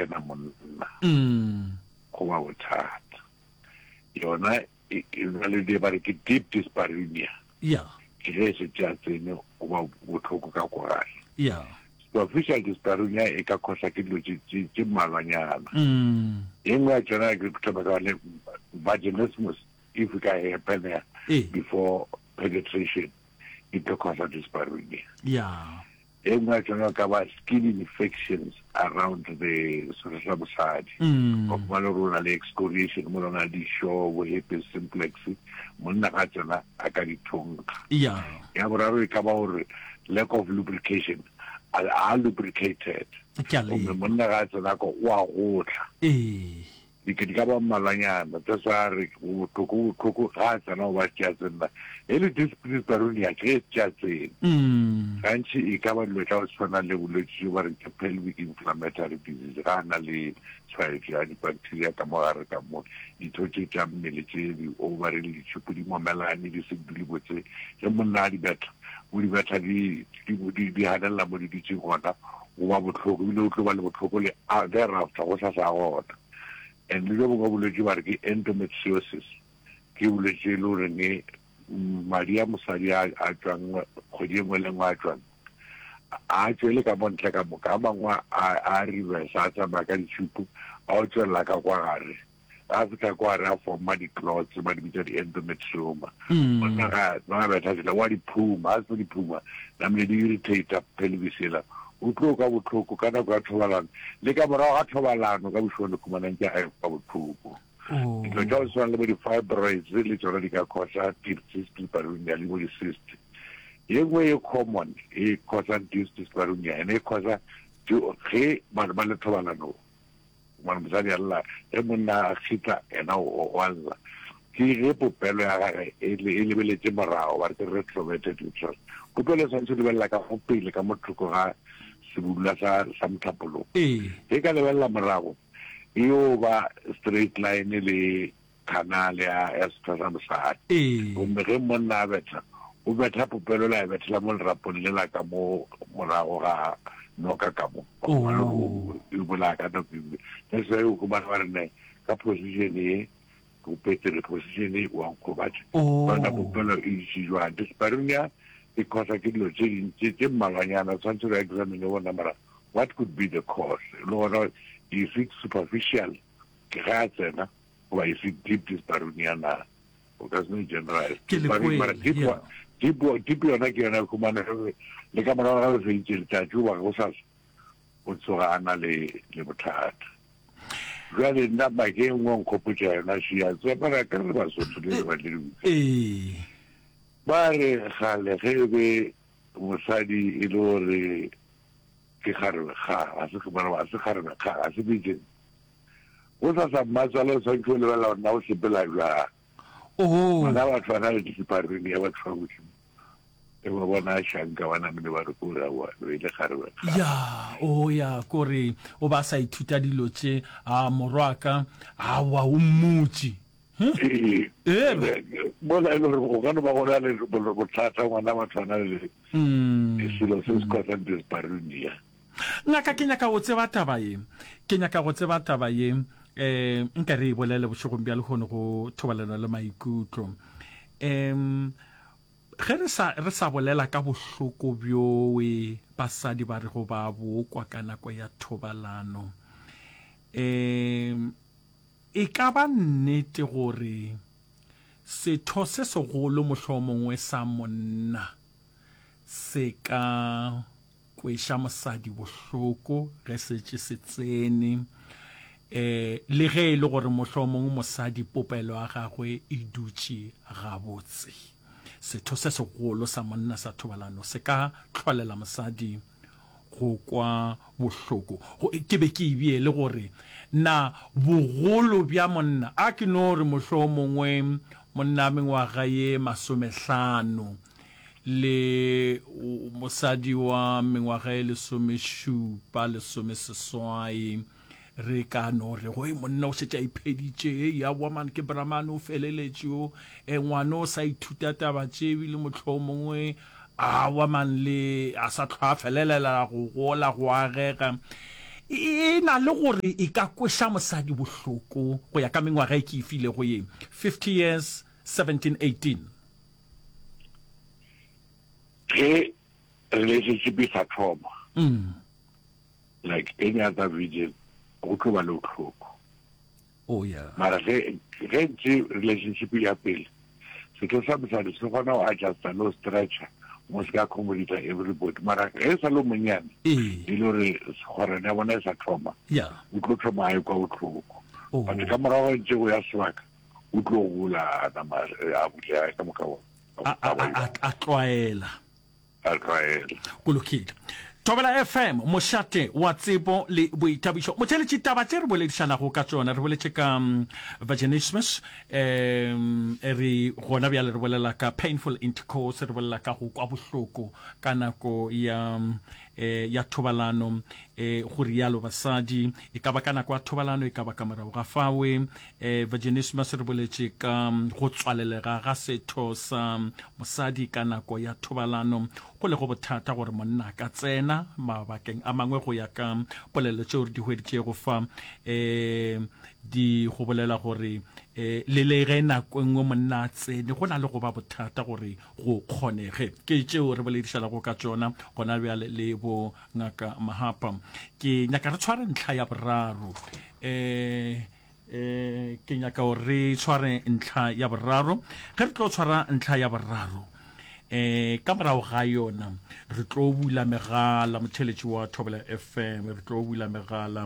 tsena monna go ba bothata. Yona e na le ba re ke deep dyspareunia. Yeah. Ke ge e šetše a tsene go ba bohloko ka ko gare. Yeah. Superficial dyspareunia e ka khosa ke dilo tše mmalwanyana. E nngwe ya tšona ke thoma ka le vaginismus if e ka happen before penetration e tlo khosa dyspareunia. Yeah. E nngwe ya tšona e ka ba skin infections around the setho sa mosadi. Wa fumana gore o na le excoriation mola o na le dišo, bo herpes simplex, monna ga tsena a ka di thonkga. Yeah. Ya boraro e ka ba gore lack of lubrication, a a lubricated. Ke a Gomme leka. monna ga a tsena ko o a gotla. Ee. Di di ka ba mmalwanyana, that's why a re go bohloko, go bohloko ga a tsena go ba tšea tsenna. E le dyspareunia ke ge e tšea tsene. Gantši e ka ba dilo tša go tshwana le bolwetši bjo ba reng ke pelvic inflammatory disease, ga a na le tshwaetšo ya dibacteria ka mo gare ka mo, ditho tše tša mmele tše di ovary le ditšhipo di momelane di se dule botse, ge monna a di betha, o di betha di di di di ganelela mo di dutšeng gona, go ba bohloko ebile o tlo ba le bohloko le thereafter go sa sa gona. And le bjo bongwe bolwetši ba re ke endometriosis, ke bolwetši e le goreng madi a mosadi a a tšwang kgwedi e nngwe le nngwe a tšwang a tšwele ka mo ntle ka moka, a mangwe a a reverse a tsamaya ka ditšhupu a o tšwelela ka kwa gare. Ga a fihla kwa gare a forma di-clots, ba di bitša di-endometrioma. Monna ga ba betha tsela wa di phuma, a se di phuma, namile di irritate pelvis ela. O tlo kwa bohloko ka nako ya thobalano le ka morago ga thobalano ka bošego le khumanang ke a kwa bohloko. Dilo tša go tshwana le bo di-fibroids le tšona di ka causa deep cyst dyspareunia le bo di-cyst. Ye nngwe e common e causang deep dyspareunia ene e causa ge batho ba le thobalanong. Gobane mosadi a lla, ge monna a kgitla, yena o a lla. Ke ge popelo ya gage e, e lebeletše morago, ba re ke retroverted uterus. Popelo e swanetše go lebelela ka go pele, ka mo thoko ga sebudula sa, sa mohlapologo. Ee. Ge ka lebelela morago, e yo ba straight line le canal ya, ya setho sa mosadi. Ee. Gomme ge monna a betha, o betha popelo la e bethela mo lerapong lela ka mo morago ga noka ka mo. Oh. E bolaya ka nako e nngwe. That's why o humana ba re ne ka position ye go petere position e wa nkgobatša. Oh. Bona popelo e itše jwang. Dyspareunia e causa ke dilo tše dintši tše mmalwanyana tshwanetse re examine bona mara what could be the cause le gona is it superficial ke ge a tsena goba is it deep dyspareunia na o ka se no generalize Ke le Mara kwele, deep yeah. deep deep yona ke yona khumana ge le ka morago ga go feditše letšatši goba go sasa o tsoga a na le le bothata jale nna make e nngwe nkgopotša yona šia tsepara ke re basotho le le ba le Ee. ba re gale ge e be mosadi e le gore ke kgarebe ga ga se ga se kgarebe ga ga se virgin Go sasa mmatswale o swanetše go lebelela gore na o sepela bjang. Oh. Bana batho ba na le discipline ya batho ba Modimo. E ba bona a šanka ba namile ba re ko ra wa e le kgarebe. Ya, o ya kore o ba sa ithuta dilo tše a morwaka a wa o mmutše. Ee. Ee. Mola e le gore go ka no ba go na le bothata ngwana batho ba na le selo se se causang dyspareunia. Ngaka, ke nyaka go tseba taba ye. Ke nyaka go tseba taba ye. Um, nka re e bolele bošegong bja lehono go thobalano le maikutlo. Um, ge re sa, re sa bolela ka bohloko bjoe basadi ba rego ba bokwa ka nako ya thobalano, um, e ka ba nnete gore setho se segolo mohlomongwe sa monna se ka kweša mosadi bohloko ge setše se tsene, um le ge e le gore mohlomong mosadi popelo ya gagwe e dutše gabotse. Setho se segolo sa monna sa thobalano se ka hlolela mosadi go kwa bohloko. Go, ke be ke e bee le gore na bogolo bja monna, a ke no re mohlomongwe monna mengwaga ye masomehlano, le mosadi wa mengwaga e lesomešupa, lesomeseswai, re ka no re go monna o šetše a ipheditše, hei aowa man ke bramane o feleletše o, e ngwana o sa ithuta taba tše ebile mohlomongwe aowa man le a sa hlwa a felelela go gola go agega. E na le gore e ka kweša mosadi bohloko go ya ka mengwaga e ke e filego ye, 50 years, 17, 18. Ge relationship e sa thoma, like any other virgin, go tlo ba le bohloko. Oh yeah. Mara ge ge ntse relationship ya pele, setho sa mosadi se kgona go adjusta le go stretcha mo se ka accommodata everybody. Mara ge e sa le monnyane, e le gore kgwerano ya bona e sa thoma, o tlo thoma a ekwa bohloko. Oh. But ka morago ntse go ya sebaka, o tlo gola a nama a bulega ka moka a tlwaela. A tlwaela. Go lokile. Thobela FM, mošate wa tsebo le boithabišo. Motheeletši, taba tše re boledišanago ka tšona, re boletše ka mm, vaginismus, um re gona bjale re bolela ka painful intercourse, re bolela ka go kwa bohloko ka nako ya eh, ya thobalano, eh, go rialo basadi, e ka ba ka nako ya thobalano, e ka ba ka morago ga fawe. Eh, vaginismus re boletše ka mm, go tswalelega ga setho sa mosadi ka nako ya thobalano, go lego bothata gore monna a ka tsena mabakeng a mangwe go ya ka polelo tšeo re di hweditšego fa. Um di go bolela gore um le le ge nako e nngwe monna a tsene go na le go ba bothata gore go kgonege. Ke tšeo re boledišanago ka tšona gona bjale le bo ngaka Mahapa. Ke nyaka re tshware ntlha ya boraro. Um E, ke nyaka gore re tshware ntlha ya boraro. Ge re tlo tshwara ntlha ya boraro, e, ka morago ga yona re tlo bula megala, motheletši wa Thobela FM, re tlo bula megala,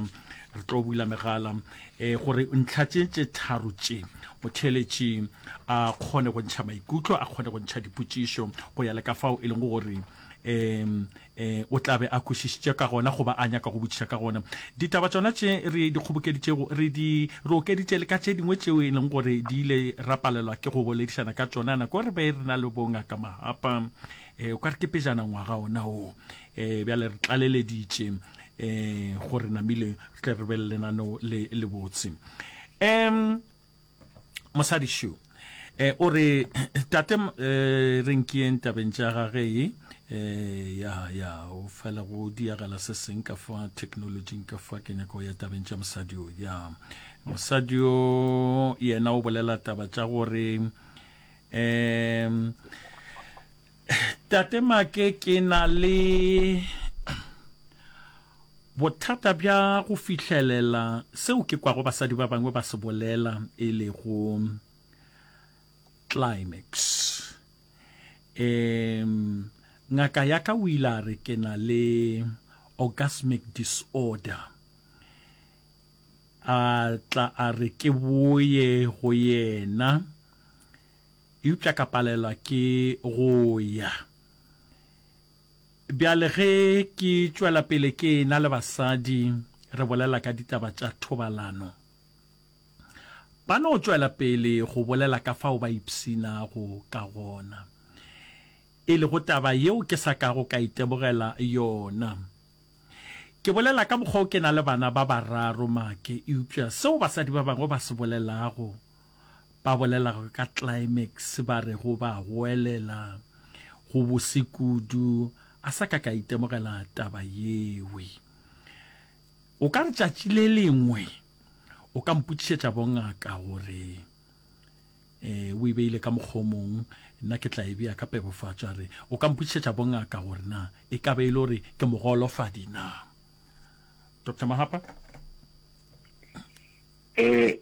re tlo bula megala e, gore ntlha tše tše tharo tše motheletši a kgone go ntšha maikutlo, a kgone go ntšha dipotšišo go ya le ka fao e leng gore um um o tla be a kwešišitše ka gona goba a nyaka go botšiša ka gona. Ditaba tšona tše re di kgobokeditšego re di re okeditše le ka tše dingwe tšeo e leng gore di ile ra palelwa ke go boledišana ka tšona nako re be re na le bongaka Mahapa. Um o ka re ke pejana ngwaga ona wo. Um bjale re tlaleleditše um gore namile re tle re be le lenaneo le lebotse. Um Mosadi šo eh, o re tate eh, re nkiyeng tabeng tša gage eh, ya ya o fela go diagala se seng ka fa technologing ka fa ke nyaka go ya tabeng tša mosadi o ya mosadi o yena o bolela taba tša gore um tate make ke na le Bothata bja go fihlelela seo ke kwago basadi ba bangwe ba se bolela e lego climax. Um, ngaka ya ka o ile a re ke na le orgasmic disorder. A tla a re ke boye go yena, eupša ka palelwa ke go ya. Bjale ge ke tšwela pele ke e-na le basadi re bolela ka ditaba tša thobalano, ba no tšwela pele go bolela ka fao ba ipshinago ka gona, e lego taba yeo ke sa kago ka itemogela yona. Ke bolela ka mokgwa o ke na le bana ba bararo, Make, eupša seo basadi ba bangwe ba se bolelago, ba bolelago ka climax ba rego ba goelela go bose kudu, a sa ka ka itemogela taba yewe. O ka re tšatši le lengwe o ka mpotšišetša bongaka gore eh, o e beile ka mokgwa o mong, nna ke tla e bea ka pebofatšo, a re o ka mpotšišetša bongaka gore na e ka be e le gore ke mogolofadi na. Doctor Mahapa? Eh,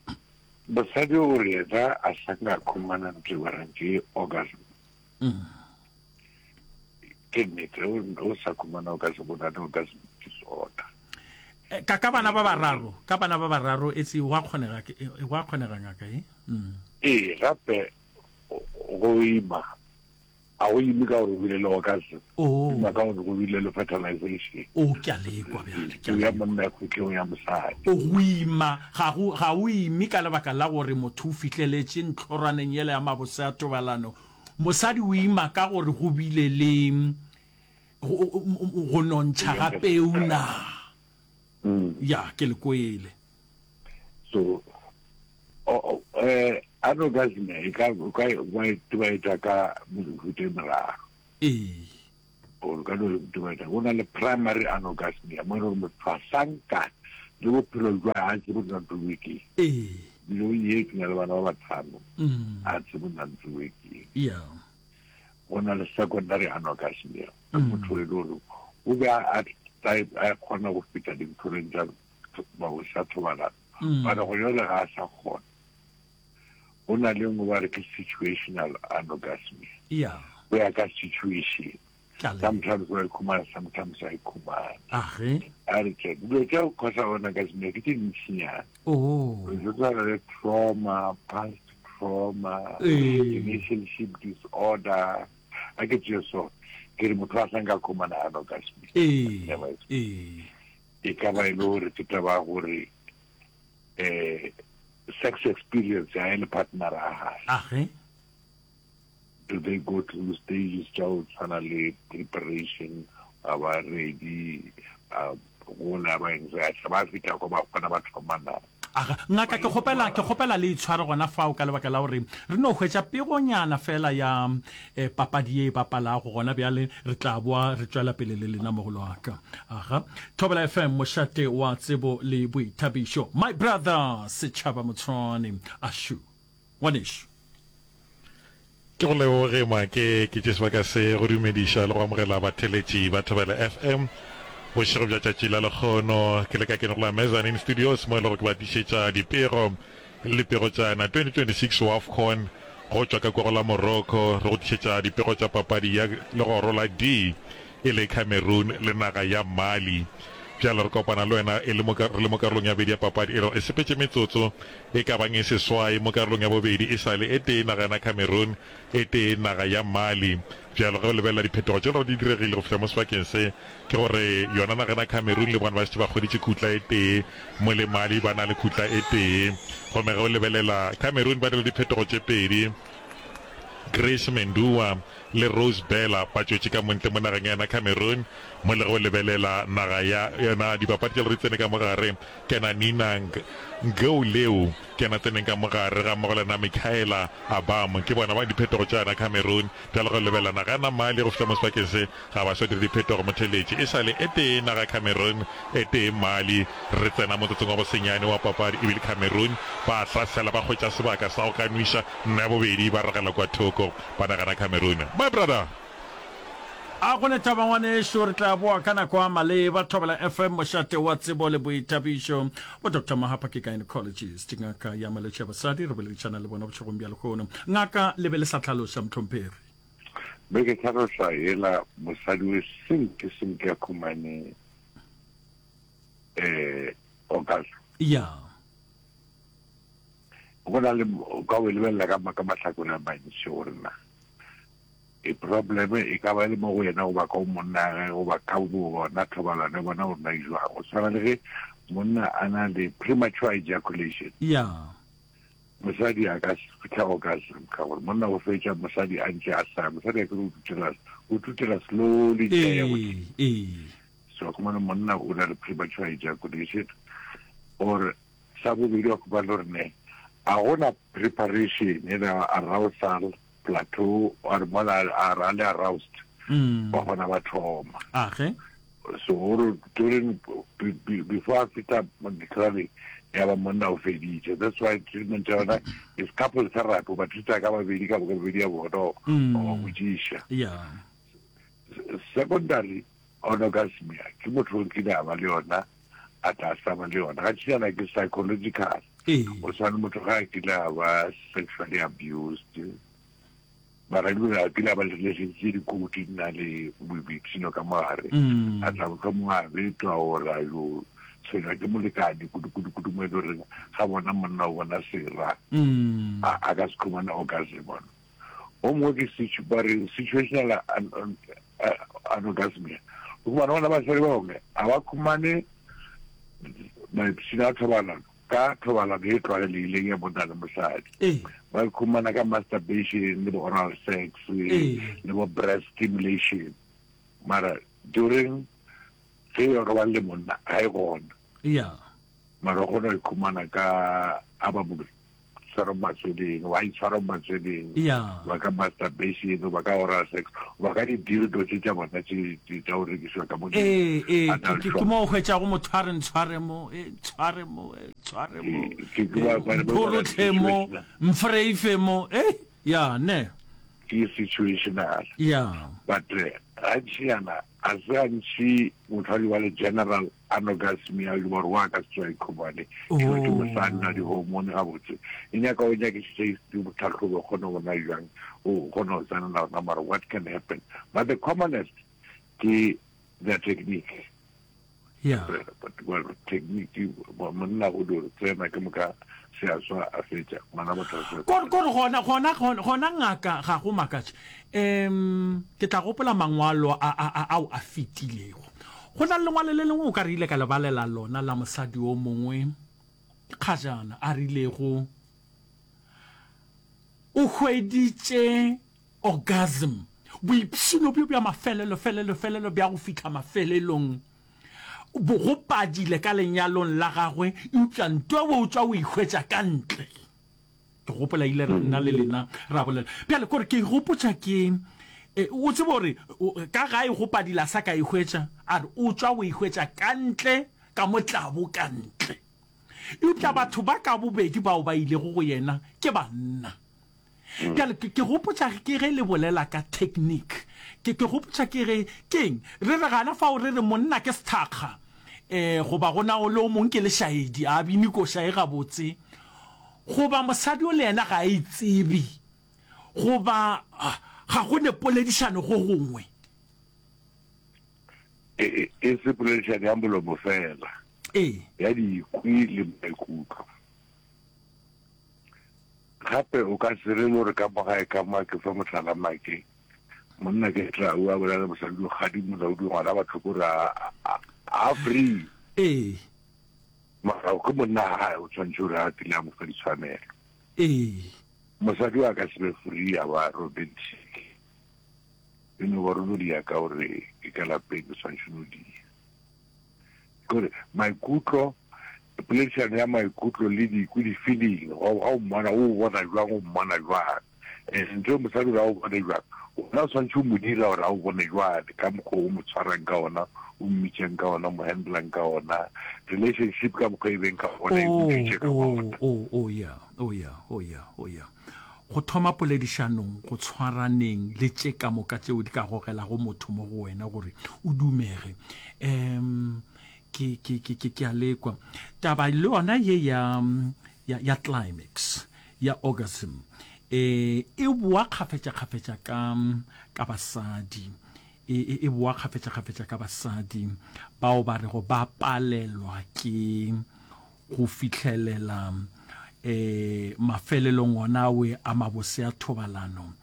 Mosadi o re yena a sa ka khumana ntho e ba reng ke orgasm. Mm. Ke nnete, o sa khumana orgasm, o na le orgasm disorder. Eh, ka ka bana ba bararo, ka bana ba bararo etse wa kgonega eh, wa kgonega ngaka e. Mm. Ee, gape go ima A go ime ka gore o bile le orgasm. Oh. Ima ka gore go bile le fertilization. Oh, ke a lekwa bjale. Ke a ya monna ya khutlong ya mosadi. O go ima ga go ga o ime ka lebaka la gore motho o fihleletše ntlhoraneng yela ya mabose a thobalano. Mosadi o ima ka gore go bile le go nontšha ga peu na. Mm. Ya, ke le kwele. So eh anorgasm e ka o ka wa e tba ka mehuta e meraro. Ee. Or ka no dumela go na le primary anorgasmia mo e leng gore motho a sanka le bophelo jwa a tsebe nna ntho e ke. Ee. Dilo ye ke na le bana ba batlhano a tsebe nna ntho e ke. Yeah. Go na le secondary anorgasmia. Motho e le gore o be a a kgona go feta dintlhoreng tsa mabose a thobalano. Mara go jale ga a sa kgona. Go na le nngwe ba re ke situational anorgasmia. Yeah. Go ya ka situation. Ke a leboga. Sometimes wa ikhumana, sometimes a ikhumana. Age. A re tse dilo tša go causa anorgasmia ke tše dintšinyana. Oh. Re tshwana le trauma, past trauma, Ee. relationship disorder. A ke tšee so, ke re motho a sa nka khumana anorgasmia. Ee. Never. Ee. E ka ba e le gore ke taba ya gore eh sex experience ya le partner ya hae. Age. Do they go through stages tša go tshwana le preparation, a ba ready, a gola ba eng se ba fihla ko ba kgona ba thoma na? Aga, ngaka ke kgopela ke kgopela le itshware gona fao ka lebaka la gore re no hwetša pegonyana fela ya eh, papadi ye e bapalago gona bjale re tla boa re tšwela pele le lena mogolo wa ka. Aga, Thobela FM mošate wa tsebo le boithabišo. My brother Setšhaba Motshwane Ashu. Ngwanešu. Ke go leboge Make, ke tše sebaka se go dumediša le go amogela batheeletši ba Thobela FM bošego bja tšatši la lekgono. Ke le ka kene go la Mezzanine Studios mo e lego ke ba tlišetša dipego le dipego tša na 2026 WAFCON go tšwa ka kwa go la Morocco. Re go tlišetša dipego tša papadi ya legoro la D e le Cameroon le naga ya Mali. Bjale re kopana le wena e le mo re le mo karolong ya bobedi ya papadi e lego e sepetše metsotso e ka bang e seswai mo karolong ya bobedi e sa le e tee naga yana Cameroon e tee naga ya Mali. Bjalo ge o lebelela diphetogo tše lego di diregile go fihla mo sebakeng se ke gore yona naga yana Cameroon le bona ba šetše ba hweditše khutla e tee mo le Mali ba na le khutla e tee. Gomme ge o lebelela Cameroon ba dirile diphetogo tše pedi Grace Mendua le Rose Bella ba tšwetše ka montle mo nageng ya yona Cameroon, mo le ge o lebelela naga ya yona dibapadi tša lori tsene ka mo gare, ke yena Nina Ngouleu ke yena tseneng ka mo gare ga mmogo le yena Michaela Abam, ke bona ba diphetogo tša yona Cameroon. Bjalo ge o lebelela naga ya Mali go fihla mo sebakeng se ga ba so dire diphetogo, motheeletši e sa le e tee naga Cameroon e tee Mali. Re tsena motsotsong wa bosenyane wa papadi ebile Cameroon ba hlasela ba hwetša sebaka sa go ka nwiša nno ya bobedi ba ragela kua thoko. Ba nagana Cameroon. My brother! A go ne taba ngwanešu, re tla boa ka nako ya maleba. Thobela FM, mošate wa tsebo le boithabišo. Bo Doctor Mahapa ke gynecologist, ngaka ya malwetši a basadi. Re boledišana le bona bošegong bja lehono. Ngaka, le be le sa hlaloša, mohlomphegi. Be ke hlaloša yela mosadi we senke senke a khumane eh orgasm. Ya. Go na le, o ka o e lebelela ka, ka mahlakore a mantši gore na e problem e ka ba e le mo go yena goba ka go monna gage goba ka bo bona thobalano ya bona gore na e jwang. Go tshwana le ge monna a na le premature ejaculation. Ya. Mosadi a ka se fihla orgasm ka gore monna o fetša mosadi a ntše a sa, mosadi a ke re o tutela, o tutela slowly ntše a ya godimo. Ee, ee. So khumana monna o na le premature ejaculation or Sa bobedi wa khumana gore ne a gona preparation e na arousal plateau or mola a ra le aroused ba gona ba thoma. Age. So gore during before a fihla ditlhare ya ba monna o feditše. That's why treatment ya yona is couple therapy, ba treata ka babedi ka bobedi ya bona o ba botšiša. Yeah. Secondary Orgasmia ke motho o kile a ba le yona a tla sa ba le yona ga tšhiana ke psychological o tshwane motho ga a kile a ba sexually abused mara ebile a kile a ba le relationship tse dikoti di na le boipshino ka mogare mm. a tla mohlomongwe a betwa or a yo tshwenywa ke molekane kudu-kudu-kudu mo e le goreng ga bona monna o bona sera mm. a ka se khumane orgasm ona O mongwe ke ba re situational anorgasmia. O khumana gona basadi ba bangwe ga ba khumane maipshino a thobalano ka thobalano e tlwaelegileng ya monna le mosadi. Ba khumana ka masturbation le bo oral sex le bo breast stimulation. Mara during ge o robala le monna ga e gona. Yeah. Mara o kgona go ikhumana ka a ba mo. tshwara mo matsweleng, wa itshwara mo matsweleng, Yeah. ba ka masturbation, ba ka oral sex, ba ka di-dildo tše tša bona tše tše tša go rekišwa ka mo di Ee, ee, ke, adult ke, ke shop. mo o hwetšago motho a re ntshware mo, e, ntshware mo, e, ntshware mo, Ke ke ke e, ba ba ba ba mphorotlhe mo, situational. mfreife mo, e, ya, ne. Ke situational. Ya. But eh, gantši yana ga se gantši motho a di ba le general anorgasmia le gore wa ka se tsoa ikhumane ke ke mosadi na di-hormone gabotse e nyaka o nyakišiše history botlhatlhobo o kgone go bona jang o kgone go tsenela gona mara what can happen but the commonest ke the technique yeah but well technique monna go di tsena ke moka se a swa a fetša ngwana motho a swa kore kore gona gona gona ngaka ga go makatše um ke tla gopola mangwalo a a ao a fetilego Go na le lengwalo le lengwe o ka re ile ka le balela lona la mosadi o mongwe kgajana a rilego o hweditše orgasm, boipshino bjo bja mafelelo, felelo, felelo bja go fihla mafelelong, bo go padile ka lenyalong la gagwe, eupša ntwa o tšwa o e hwetša ka ntle. Ke gopola ile ra nna le lena ra bolela. Bjale kore ke gopotša ke e, o tsebe gore ka gae go padila sa ka e hwetša, a re o tšwa o e hwetša ka ntle ka motlabo ka ntle. Eupša batho ba ka bobedi bao ba ilego go yena ke banna. Bjale ke, ke gopotša ke ge le bolela ka technique. Ke, ke gopotša ke ge, keng, re re gana fao re re monna ke sethakga, e, goba go na le o mong ke lešaedi, a bine koša e gabotse. Goba mosadi o le yena ga a e tsebe, goba ga go ne poledišano go gongwe. E, e, e se poledišano ya molomo fela. Ee. Ya dikwi le maikutlo. Gape o ka se re gore ka mo gae ka mo ke fa mohlala make monna ke tla o a bolela mosadi o gadi molaodi ngwana batho ko re a a free. Ee. Mara ke monna gae o tshwanetse gore a tlile a mo fa ditshwanelo. Ee. Mosadi wa ka se be free a ba romantic. E no ba rolo dia ka gore ke ka lapeng o tshwanetse no dia. Kore maikutlo poledišano ya maikutlo le dikwi di-feeling ga o mmona o bona jwang o mmona jwang and ntho e mosadi gore a o bone jwang wena o tshwanetse o mo dira gore a o bone jwang ka mokgwa o mo tshwarang ka ona o mmitšang ka ona o mo handlang ka ona relationship ka mokgwa e beng ka ona e butšwitše ka ona oh, oh, yeah, oh, yeah, oh, yeah, oh, yeah. Go thoma poledišanong, go tshwaraneng le tše ka moka tšeo di ka gogelago motho mo go wena gore o dumege. Um ke, ke, ke, ke, ke a lekwa. Taba le yona ye ya, ya, ya climax, ya orgasm, e, e boa kgafetša-kgafetša ka, ka basadi. E, e, e boa kgafetša-kgafetša ka basadi bao ba rego ba palelwa ke go fihlelela e, mafelelong ona awe a mabose a thobalano.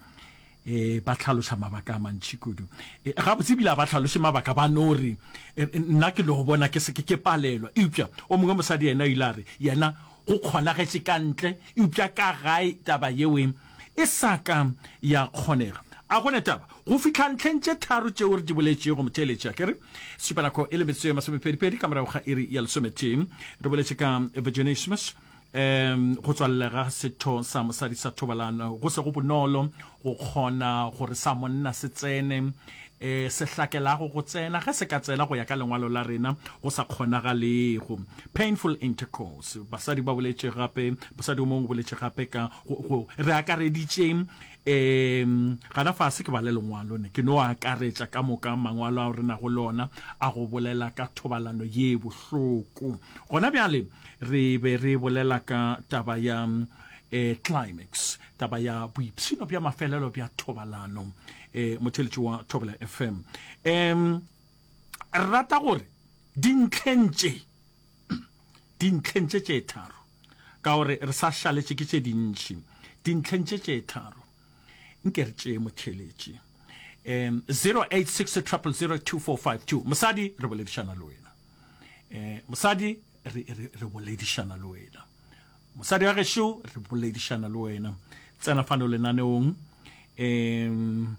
E, ba hlaloša mabaka a mantši kudu. E, gabotse ebile a ba hlaloše mabaka, ba no re, e, nna ke no bona ke se ke ke palelwa. Eupša o mongwe mosadi yena o ile a re yena go kgonagetše ka ntle, eupša ka gae taba yeo e sa ka ya kgonega. A go ne taba go fihla ntlheng tše tharo tšeo re di boletšego, motheeletši? A ke re, sešupanako e le metsotso ye masomepedipedi ka morago ga iri ya lesometee. Re boletše ka vaginismus, um go tswalelega ga setho sa mosadi sa thobalano go se go bonolo go kgona gore sa monna se tsene, um se hlakelago go tsena ge se ka tsena go ya ka lengwalo la rena go sa kgonagalego. Painful intercourse, basadi ba boletše gape, mosadi o mongwe o boletše gape ka go, go re akareditše um gana fase ke bale lengwalo ne ke no akaretša ka moka mangwalo ao re nago le ona a go bolela ka thobalano ye bohloko. Gona bjale re be re bolela ka taba ya um climax, taba ya boipshino bja mafelelo bja thobalano. Um motheeletši wa Thobela FM, um re rata gore dintlheng tše, dintlheng tše tše tharo, ka gore re sa šaletše ke tše dintši, dintlheng tše tše tharo, nke re tšee motheeletši. Um 086 000 2452. Mosadi, re boledišana le wena. Um mosadi, re, re, re boledišana le wena. Mosadi wa gešo, re boledišana le wena. Tsena fano lenaneong, um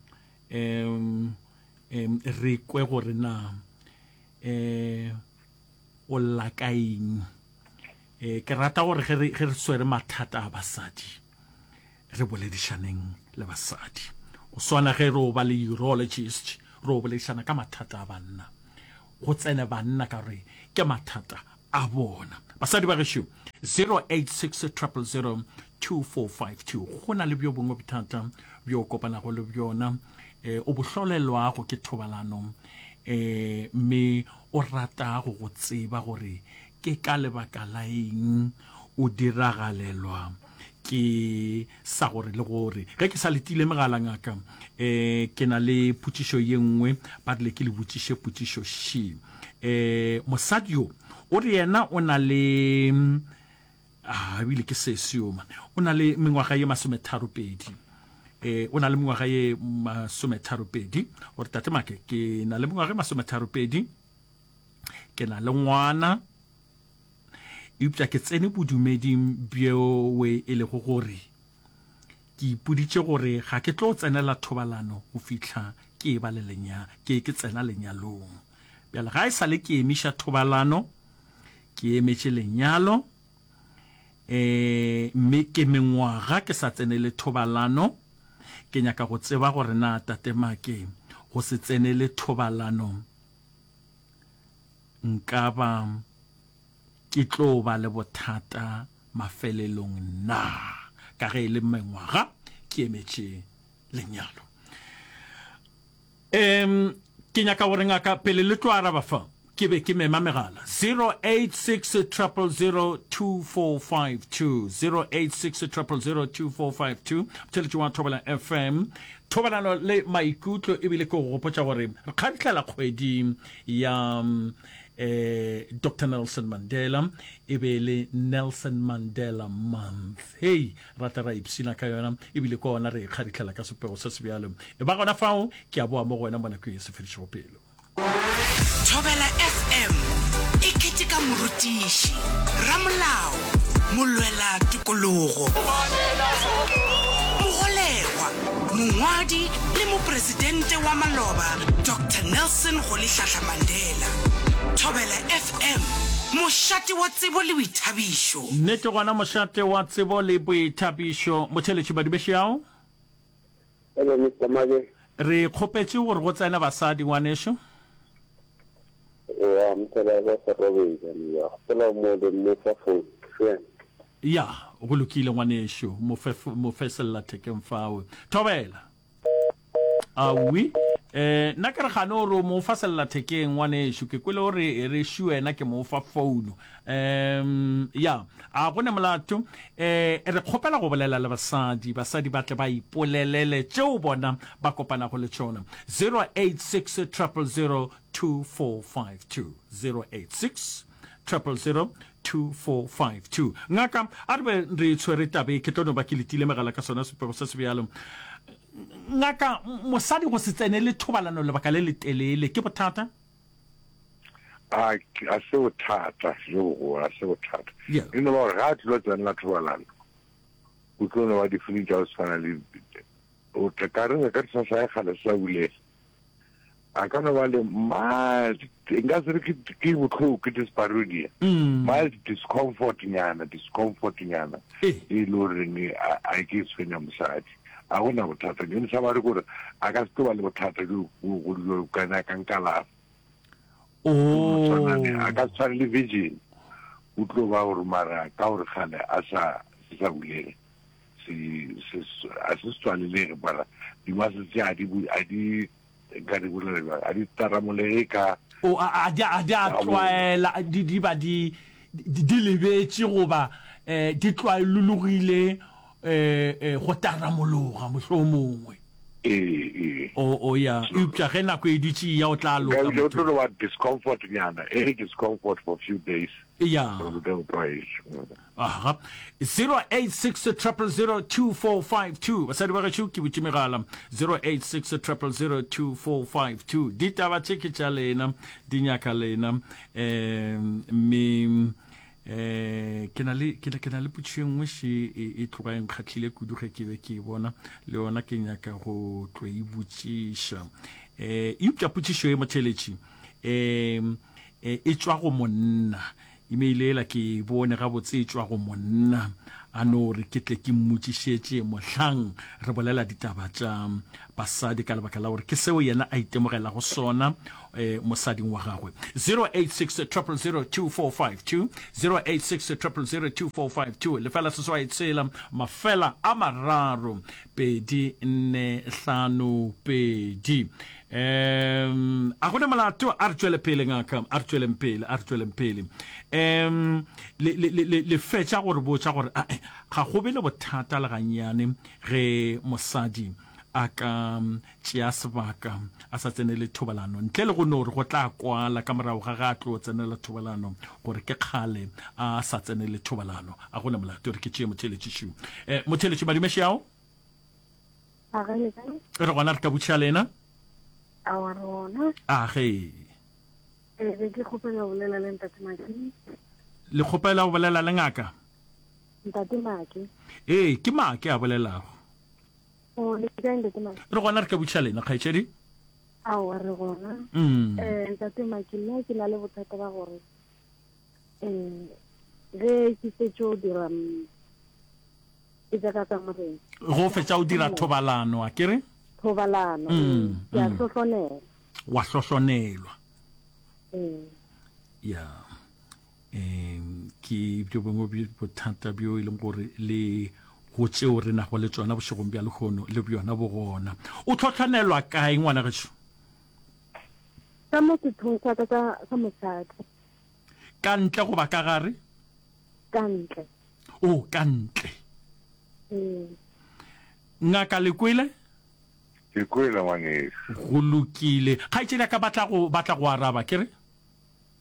um um re kwe gore na um o lla ka eng. Um ke rata gore ge re, ge re swere mathata a basadi, re boledišaneng le basadi. Go swana ge re o ba le urologist, re o boledišana ka mathata a banna. Go tsene banna ka gore ke mathata a bona. Basadi ba gešo, 086 000 2452. Go na le bjo bongwe bothata bjo o kopanago le bjona, eh, o bo hlolelwago ke thobalano, eh, mme o ratago go tseba gore ke ka lebaka la eng o diragalelwa ke sa gore le gore. Ge ke sa letile megala ngaka, eh, ke na le potšišo ye nngwe, ba rile ke le botšiše potšišo še. Eh, mosadi yo o re yena o na le, ah, ebile ke sesi yo man, o na le mengwaga ye masometharopedi. Eh, o na le mengwaga ye masometharopedi. O re, Tate Make, ke na le mengwaga ye masometharopedi, ke na le ngwana, Eupša ke tsene bodumeding bjoe e lego gore ke ipoditše gore ga ke tlo tsenela thobalano go fihla ke eba le lenya, ke, ke tsena lenyalong. Bjale ga e sa le ke emiša thobalano, ke emetše lenyalo, e, mme ke mengwaga ke sa tsenele thobalano. Ke nyaka go tseba gore na Tate Make go se tsenele thobalano nka ba ke tlo ba le bothata mafelelong na, ka ge e le mengwaga ke emetše lenyalo? Um, ke nyaka gore ngaka pele le tlo araba fa, ke be ke mema megala 086 000 2452, 086 000 2452, motheletši wa Thobela FM, thobalano le maikutlo. Ebile ke go gopotša gore re kgabihlela kgwedi ya eh, Doctor Nelson Mandela, e be e le Nelson Mandela Month. Hei, rata ra ipshina ka yona, ebile ke ona re e kgaritlhela ka sepego se sebjalo. E ba gona fao, ke a boa mo go wena mo nakong e se fedišego pelo. Thobela FM e keteka morutiši, ramolao, molwela tokologo, mogolegwa, mongwadi le mopresidente wa maloba Doctor Nelson Rolihlahla Mandela. Thobela FM, mošate wa tsebo le boithabišo. Nnete gona mošate wa tsebo le boithabišo. Motheeletši Badubešeao. Hello Mister Make. Re kgopetše gore go tsene basadi ngwanešu. Ya mosadi ba sa robetša ya gopola mo le mo fa phone friend. Ya go lokile ngwanešu mo fe mo fe sellathekeng fao. Thobela. Awi eh nna ke re gane o re o mo fa sellathekeng ngwanešu ke kwele o re e re šu wena ke mo fa phone. Um ya a go ne molato eh re kgopela go bolela le basadi basadi ba tle ba ipolelele tšeo bona ba kopanago le tšona 086 000 2452 086 000 2452 Ngaka, a re be re tshwere tabe, ke tlo no ba ke letile megala ka sona sepego se sebjalo. Ngaka, mosadi go se tsenele thobalano lebaka le letelele ke bothata? A a se bothata jo bogolo, a se bothata. Yeah. E no ba gore ga a tlilo tsenela thobalano, o tlo no ba di-feeling tša go tshwana le o tla ka re ka sa sa kgale sa bulega. A ka no ba le mild, nka se re ke ke bohloko, ke dyspareunia. Mild discomfort nyana, discomfort nyana. Eh. E le goreng a a ke tshwenya mosadi. A gona bothata. Ke sa ba re gore a ka se tlo ba le bothata jo bogolo jo ka nyakang kalafo. Oh. Tshwanane, a ka se tshwane le virgin. O tlo ba gore mara ka gore kgale a sa se sa bulege. Se se a se tswalelege mara di-muscles tše a di a di nka di bolela bjang a di taramolege ka O a a di a di a tlwaela di di ba di di di lebetše goba eh di tlwaelologile eh eh go taramologa mohlomongwe. Ee, ee. O o ya eupša ge nako e dutše e ya o tla loka Nka o motho. tlo no ba discomfort nyana e re discomfort for few days. Ya. Gore o tla o tlwaetše. Aha. 086 000 2452. Basadi ba gešo ke butše megala. 086 000 2452. Ditaba tše ke tša lena, di nyaka lena. Um mme eh ke na le ke na le potšišo e nngwe še e, e tloga e nkgahlile kudu ge ke be ke e bona le yona ke nyaka go tlo e botšiša eh eupša potšišo e motheletši um e tšwa go monna. Email yela ke e bone gabotse e tšwa go monna a no re ke tle ke mmotšišetše mohlang re bolela ditaba tša basadi ka lebaka la gore ke seo yena a itemogelago sona eh, mosading wa gagwe. 086 000 2452 086 000 2452 lefela seswai tshela mafela a mararo 2 4 5 2. Um a gona molato a re tšwele pele ngaka a re tšweleng pele a re tšweleng pele um le le le le fetša gore botša gore a ga go be le bothata le gannyane ge mosadi a ka tšea sebaka a sa tsenele thobalano ntle le go no re go tla kwala ka morago ga ga a tlo tsenela thobalano gore ke kgale a sa tsenele thobalano a gona molato re ke tšee motheletši um motheletši madumeši ao A ge le kae? Re gona re ka botšiša lena. Awa re gona. A ge. E be ke kgopela go bolela le ntate Maki. Le kgopela go bolela le ngaka? Ntate Maki. Ee, ke Maki a bolelago. O le kae ntate Maki? Re gona re ka botšiša lena kgaetšedi. Awa re gona. Mm. Eh ntate Maki nna ke na le bothata ba gore eh ge ke fetšo dira mm, Ke tša ka kamoreng. Go fetša o dira thobalano, a ke re? Thobalano, ee. Ke a hlohlonelwa. Wa hlohlonelwa. Ee. Ya. Um ke bjo bongwe bjo bothata bjo e leng gore le go tšeo re nago le tšona bošegong bja lehono le bjona bo gona. O hlohlonelwa kae ngwana gešo? Ka mo sethong sa ka sa mosadi. Ka ntle goba ka gare? Ka ntle. O ka ntle. Ngaka le kwele? Ke kwele ngwanešu. Go lokile. Kgaetšedi a ka batla go batla go araba, ke re?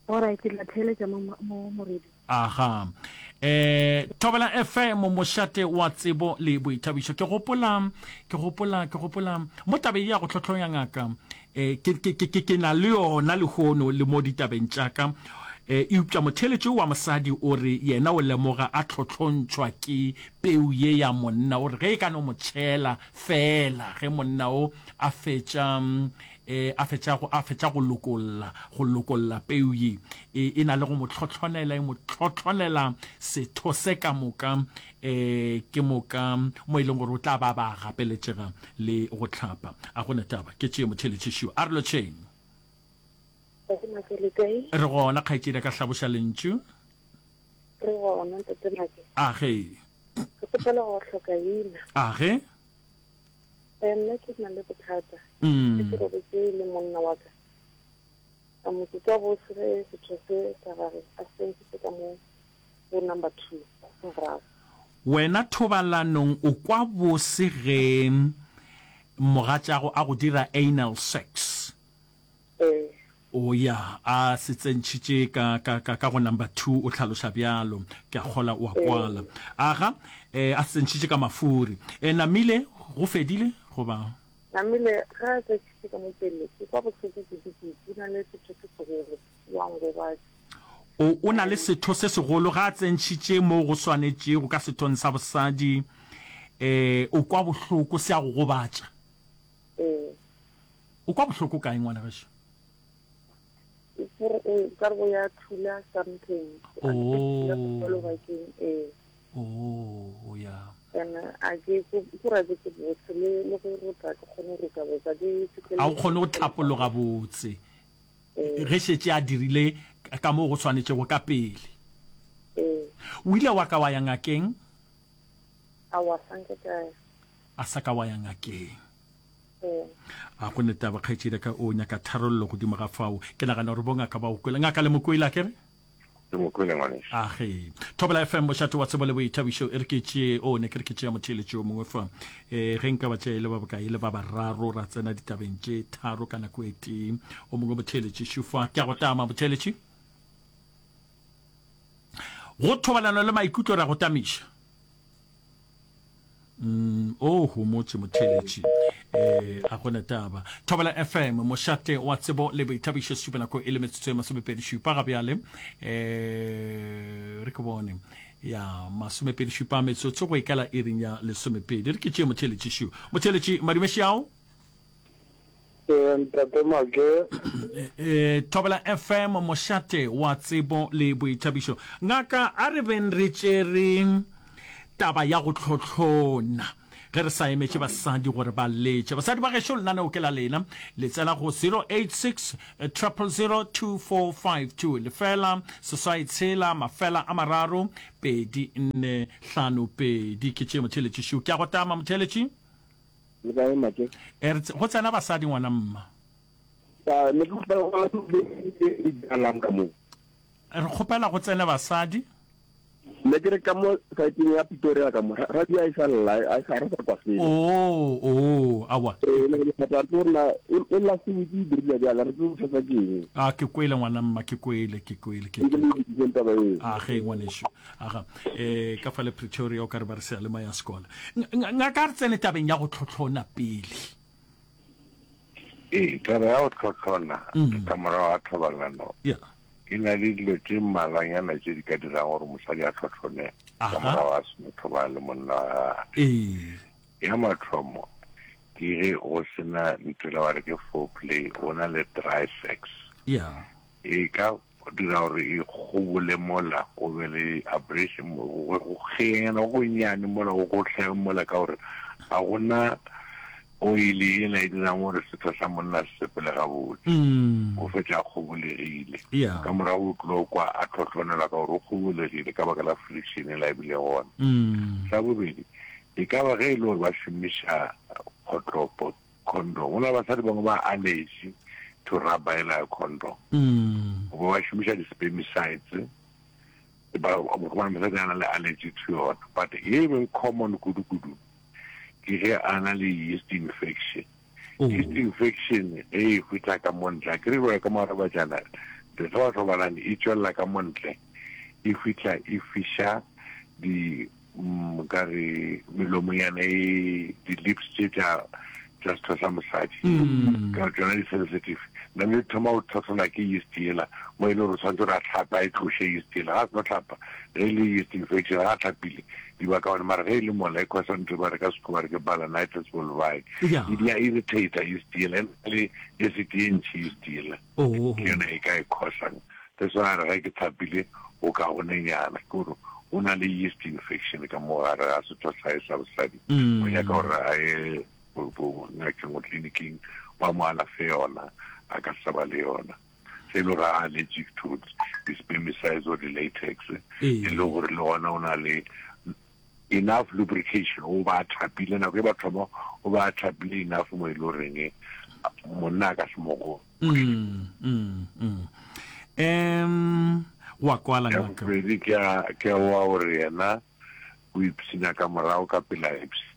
Alright, ke tla theeletša mo mo moredi. Aha. Eh, Thobela FM mošate wa tsebo le boithabišo. Ke gopola, ke gopola, ke gopola mo tabeng ya go hlohlonya ngaka. Eh, ke, ke, ke, ke, ke na le yona lehono le mo ditabeng tša ka. Eh, eupša motheeletši wa mosadi o re yena o lemoga a hlohlontšhwa ke peu ye ya monna. O re ge e ka no mo tšhela feela ge monna o a fetša, eh, a fetša go, a fetša go lokolla, go lokolla peu ye, e, e na le go mo hlohlonela, e mo hlohlonela setho se ka moka, eh, ke moka mo e leng gore o tla ba ba gapeletšega le go hlapa. A go na taba, ke tšee motheeletši A re lotšheng. Ntate Make, le kae? Re gona, kgaetšedi a ka hlaboša lentšu. Re gona, Ntate Make. A ge. Ke kgopela go hloka ina. A ge. Eh, nna ke na le bothata. Mm. Ke robetse le monna wa ka. Ka mo ke ka bose ge setho se sa gage a se ntshitse ka mo go number 2 morago. Wena thobalanong o kwa bose ge mogatšago a go dira anal sex? Ee. O ya, a se tsentšhitše ka, ka, ka, ka go number 2, o hlaloša bjalo. Ke a kgola o a kwala. Aga, eh, a se tsentšhitše ka mafuri. Eh, namile, go fedile, goba? Namile, ge a tsentšhitše ka mo pele, ke kwa bohloko kudu-kudu, o na le setho se segolo, wa ngobatša. O, o na le setho se segolo, ge a tsentšhitše mo go swanetšego ka sethong sa bosadi, eh, o kwa bohloko, se a go gobatša. Ee. O kwa bohloko kae, ngwana gešo? O ka re bo ya thula something. Oh. Ee. Oh, ya. And a ke go ra ke botse le le go rota ke kgone go rota botse ke A o kgone go tlhapologa botse. Ge šetše a dirile ka mo go swanetšego ka pele. Ee. O ile wa ka wa ya ngakeng? Aowa, sa nke ka ya. A sa ka wa ya ngakeng. A go ne taba, kgaetšedi ya ka, o nyaka tharollo godimo ga fao. Ke nagana gore bongaka ba go kwele. Ngaka le mo kwele, a ke re? Ke mo kwele, ngwanešu. A ge. Thobela FM, mošate wa tsebo le boithabišo. E re ke tšee, o, ne ke re ke tšea motheeletši yo mongwe fa. E, ge nka ba tšea e le ba bokae, e le ba bararo, ra tsena ditabeng tše tharo ka nako e tee. O mongwe motheeletši šufa. Ke a go tama, motheeletši. Go thobalano le maikutlo re a go tamiša. Mm, o homotše motheletši eh a gona taba thobela fm mošate wa tsebo le boithabišo sesupa nako e le metsotso e masomepedi šupa ga bjale eh re ke bone ya masomepedi šupa metsotso go ikala iring ya lesomepedi re ke tšee motheletši šu motheletši madumeši ao. Ee, Ntate Make. Eh, Thobela FM, mošate wa tsebo le boithabišo. Ngaka, a re beng re tšere taba ya go hlohlona ge re sa emetše basadi gore ba letše. Basadi ba gešo, lenaneo ke la lena. Le tsena go 086 000 2452, lefela, seswai tshela, mafela a mararo, pedi, nne, hlano, pedi. Ke tše motheeletši šo. Ke a go tama, motheeletši. Le kae Make? E re go tsena basadi ngwana mma. Ba ne ke kgopela go le jalang ka mo. Re kgopela go tsene basadi. Ne ke re ka mo saeteng ya Pretoria ka mo radio a e sa lla a sa re sa kwa selo. Oh oh awa. Eh ne ke thata ke rena e la se wiki e dirile bjale re tlo thata ke eng. A ke kwele ngwana mma ke kwele ke kwele ke. Ke le taba eo. A ge ngwanešu. Aga, e, ka fale Pretoria o ka re ba re seyalemoya ya sekolo. Ngaka, a re tsene tabeng ya go tlhotlhona pele. Ee, taba ya go tlhotlhona mm. ka morago ga thobalano yeah. e na le dilo tše mmalwanyana tše di ka dirang gore mosadi a tlhotlhone ka morago ga seno thobala le monna wa gagwe. Ee. Ya mathomo ke ge go sena ntho e la ba re ke foreplay, go na le dry sex. Yeah. E ka Go dira gore e kgobole mola go be le abrasion, go kgenyana go gonnyane mola, go gohlege mola, ka gore ga go na oil yela e dirang gore setho sa monna se sepele gabotse. O fetša a kgobolegile. Ka morago o tlo kwa a tlhohlonelwa ka gore o kgobolegile ka baka la friction yela e bilego gona. Sa bobedi, e ka ba ge e le gore ba šomiša kgotlopo, Condom. Go na le basadi bangwe ba allergy to rubber ela ya condom. Goba ba šomiša di-spermicides. Ba gobane mosadi a na le allergy to yona. But ye e beng common kudu-kudu ke ge a na le yeast infection. Oh. Yeast infection ge e fihla ka mo ntle, a ke re jwale ka mo gare ge ba thobalane e tšwelela ka mo ntle, e fihla e fiša di mm, ka re melomonyana e di-lips tše tša tša setho sa mosadi mm. ka tšona di-sensitive name di thoma go tlhotlhola ke yeast yela mo e le gore o tshwanetse gore a tlhapa a e tloše yeast yela ga a seno tlhapa ge e le yeast infection ga a tlhapile di ba kaone mara ge e le mola e khosa ntho ba re ka sekgowa ba re ke balanitis vulvae e di a irritate yeast yela e na le acid ye ntši yeast yela Oh. Ke yona e ka e khosang. That's why a re ge ke thapile go kaonenyana ke gore o na le yeast infection ka mo gare ga setho sa hae sa bosadi. Mm. O nyaka gore a ye ngakeng go tleliniking ba mo alafe yona a ka sa ba le yona. Se e le gore a allergic to di-spermicides or di-latex Ee. e le gore le gona o na le enough lubrication o ba a thapile nako e ba thoma o ba a thapile enough mo e le goreng monna a ka se mo go mm, mm, mm. Um wa kwala ya ngaka bobedi ke a ke a wa gore yena o ipshina ka morago ka pele a ipshina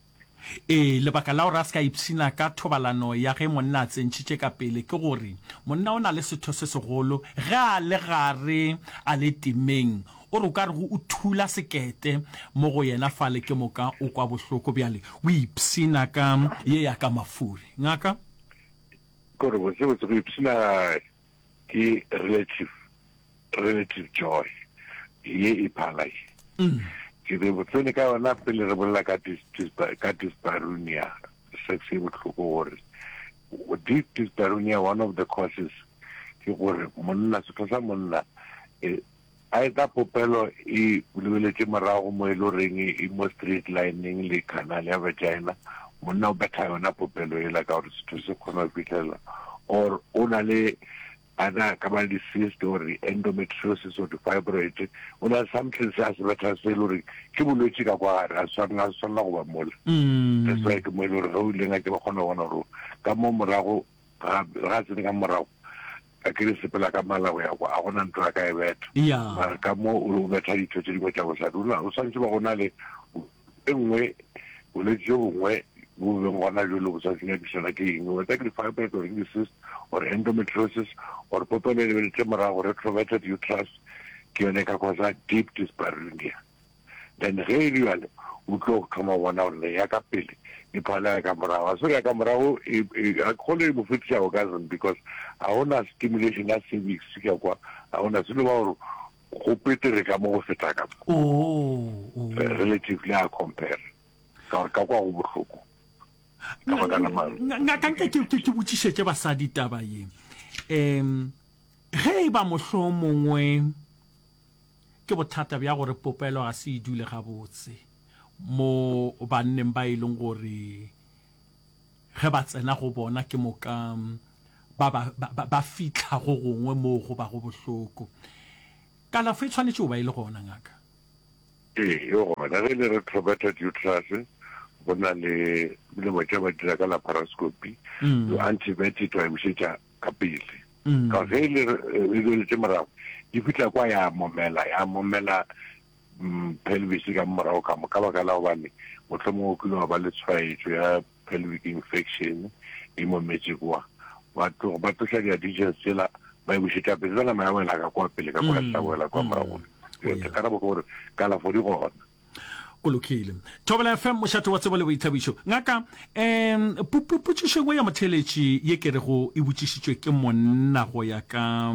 Ee, lebaka la gore a se ka ipshina ka thobalano ya ge monna a tsentšhitše ka pele ke gore monna o na le setho se segolo ge a le gare a le temeng. O re o ka re o thula sekete mo go yena fale ke moka o kwa bohloko. Bjale o ipshina ka ye ya ka mafuri. Ngaka? Ke gore botsebotse go ipshina ke relative relative joy ye e phala ye mm. ke re botsene ka yona pele re bolela ka ka dyspareunia sex e bohloko gore deep dyspareunia one of the causes ke gore monna setho sa monna e, a eta popelo e lebeletše morago mo e le goreng e mo straight lining le canal ya vagina monna o betha yona popelo ela ka gore setho se kgona go fitlhelela or o na le ana ka ba le di-cyst or di-endometriosis or di-fibroid o na le something se a se betha se e le gore ke bolwetši ka kwa gare a swanela a swanela go ba mola mm. that's why ke mo e le gore ge o ile ngake ba kgona go bona gore ka mo morago ga ga tsene ka morago a ke re sepela ka mala go ya kwa a gona ntho a ka e betha mara ka mo o betha ditho tse dingwe tša bosadi o swanetše ba go na le e nngwe bolwetši jo bongwe bo beng gona jolo bo sa nyakišana ke eng whether ke di-fibroid or ke di-cyst or endometriosis or popelo e lebeletše morago retroverted uterus ke yone e ka causa deep dyspareunia Then ge e le bjalo o tlo go thoma go bona gore ya ka pele e phala ya ka morago. A se gore ya ka morago e, e, a kgone e mo fetiša orgasm because ga gona stimulation ya cervix ka kwa, ga gona selo ba gore go petere ka mo go feta ka mo. Oh, oh. Relatively a compare ka gore ka kwa go bohloko. Ka baka la maru. Ngaka nke ke ke botšišetše basadi taba ye. Um ge e ba mohlomongwe ke bothata bja gore popelo ga se e dule gabotse mo banneng ba e leng gore ge ba tsena go bona ke moka ba ba ba, ba fihla go gongwe moo go bago bohloko. Kalafo e tshwanetše go ba e le gona, ngaka? Ee, e gona. Ge e le retroverted uterus, go na le melemo tša ba dira ka laparoscopy, mm. antibiotic wa e bušetša ka pele. Mm. Ka ge e le e duletše morago, e fihla kwa ya momela, ya momela mm, pelvis ka morago ka mo ka baka la gobane mohlomongwe o kile wa ba le tshwaetšo ya pelvic infection e mometše kwa ba tloga ba tloša di-adhesions tsela ba e bušetša pele tsa nama ya wela ka kwa pele ka kwa ya wela kwa morago karabo ke gore kalafo di gona. Go lokile. Thobela FM, mošate wa tsebo le boithabišo. Ngaka, um potšišo engwe ya motheeletši ye ke rego e botšišitšwe ke monna go ya ka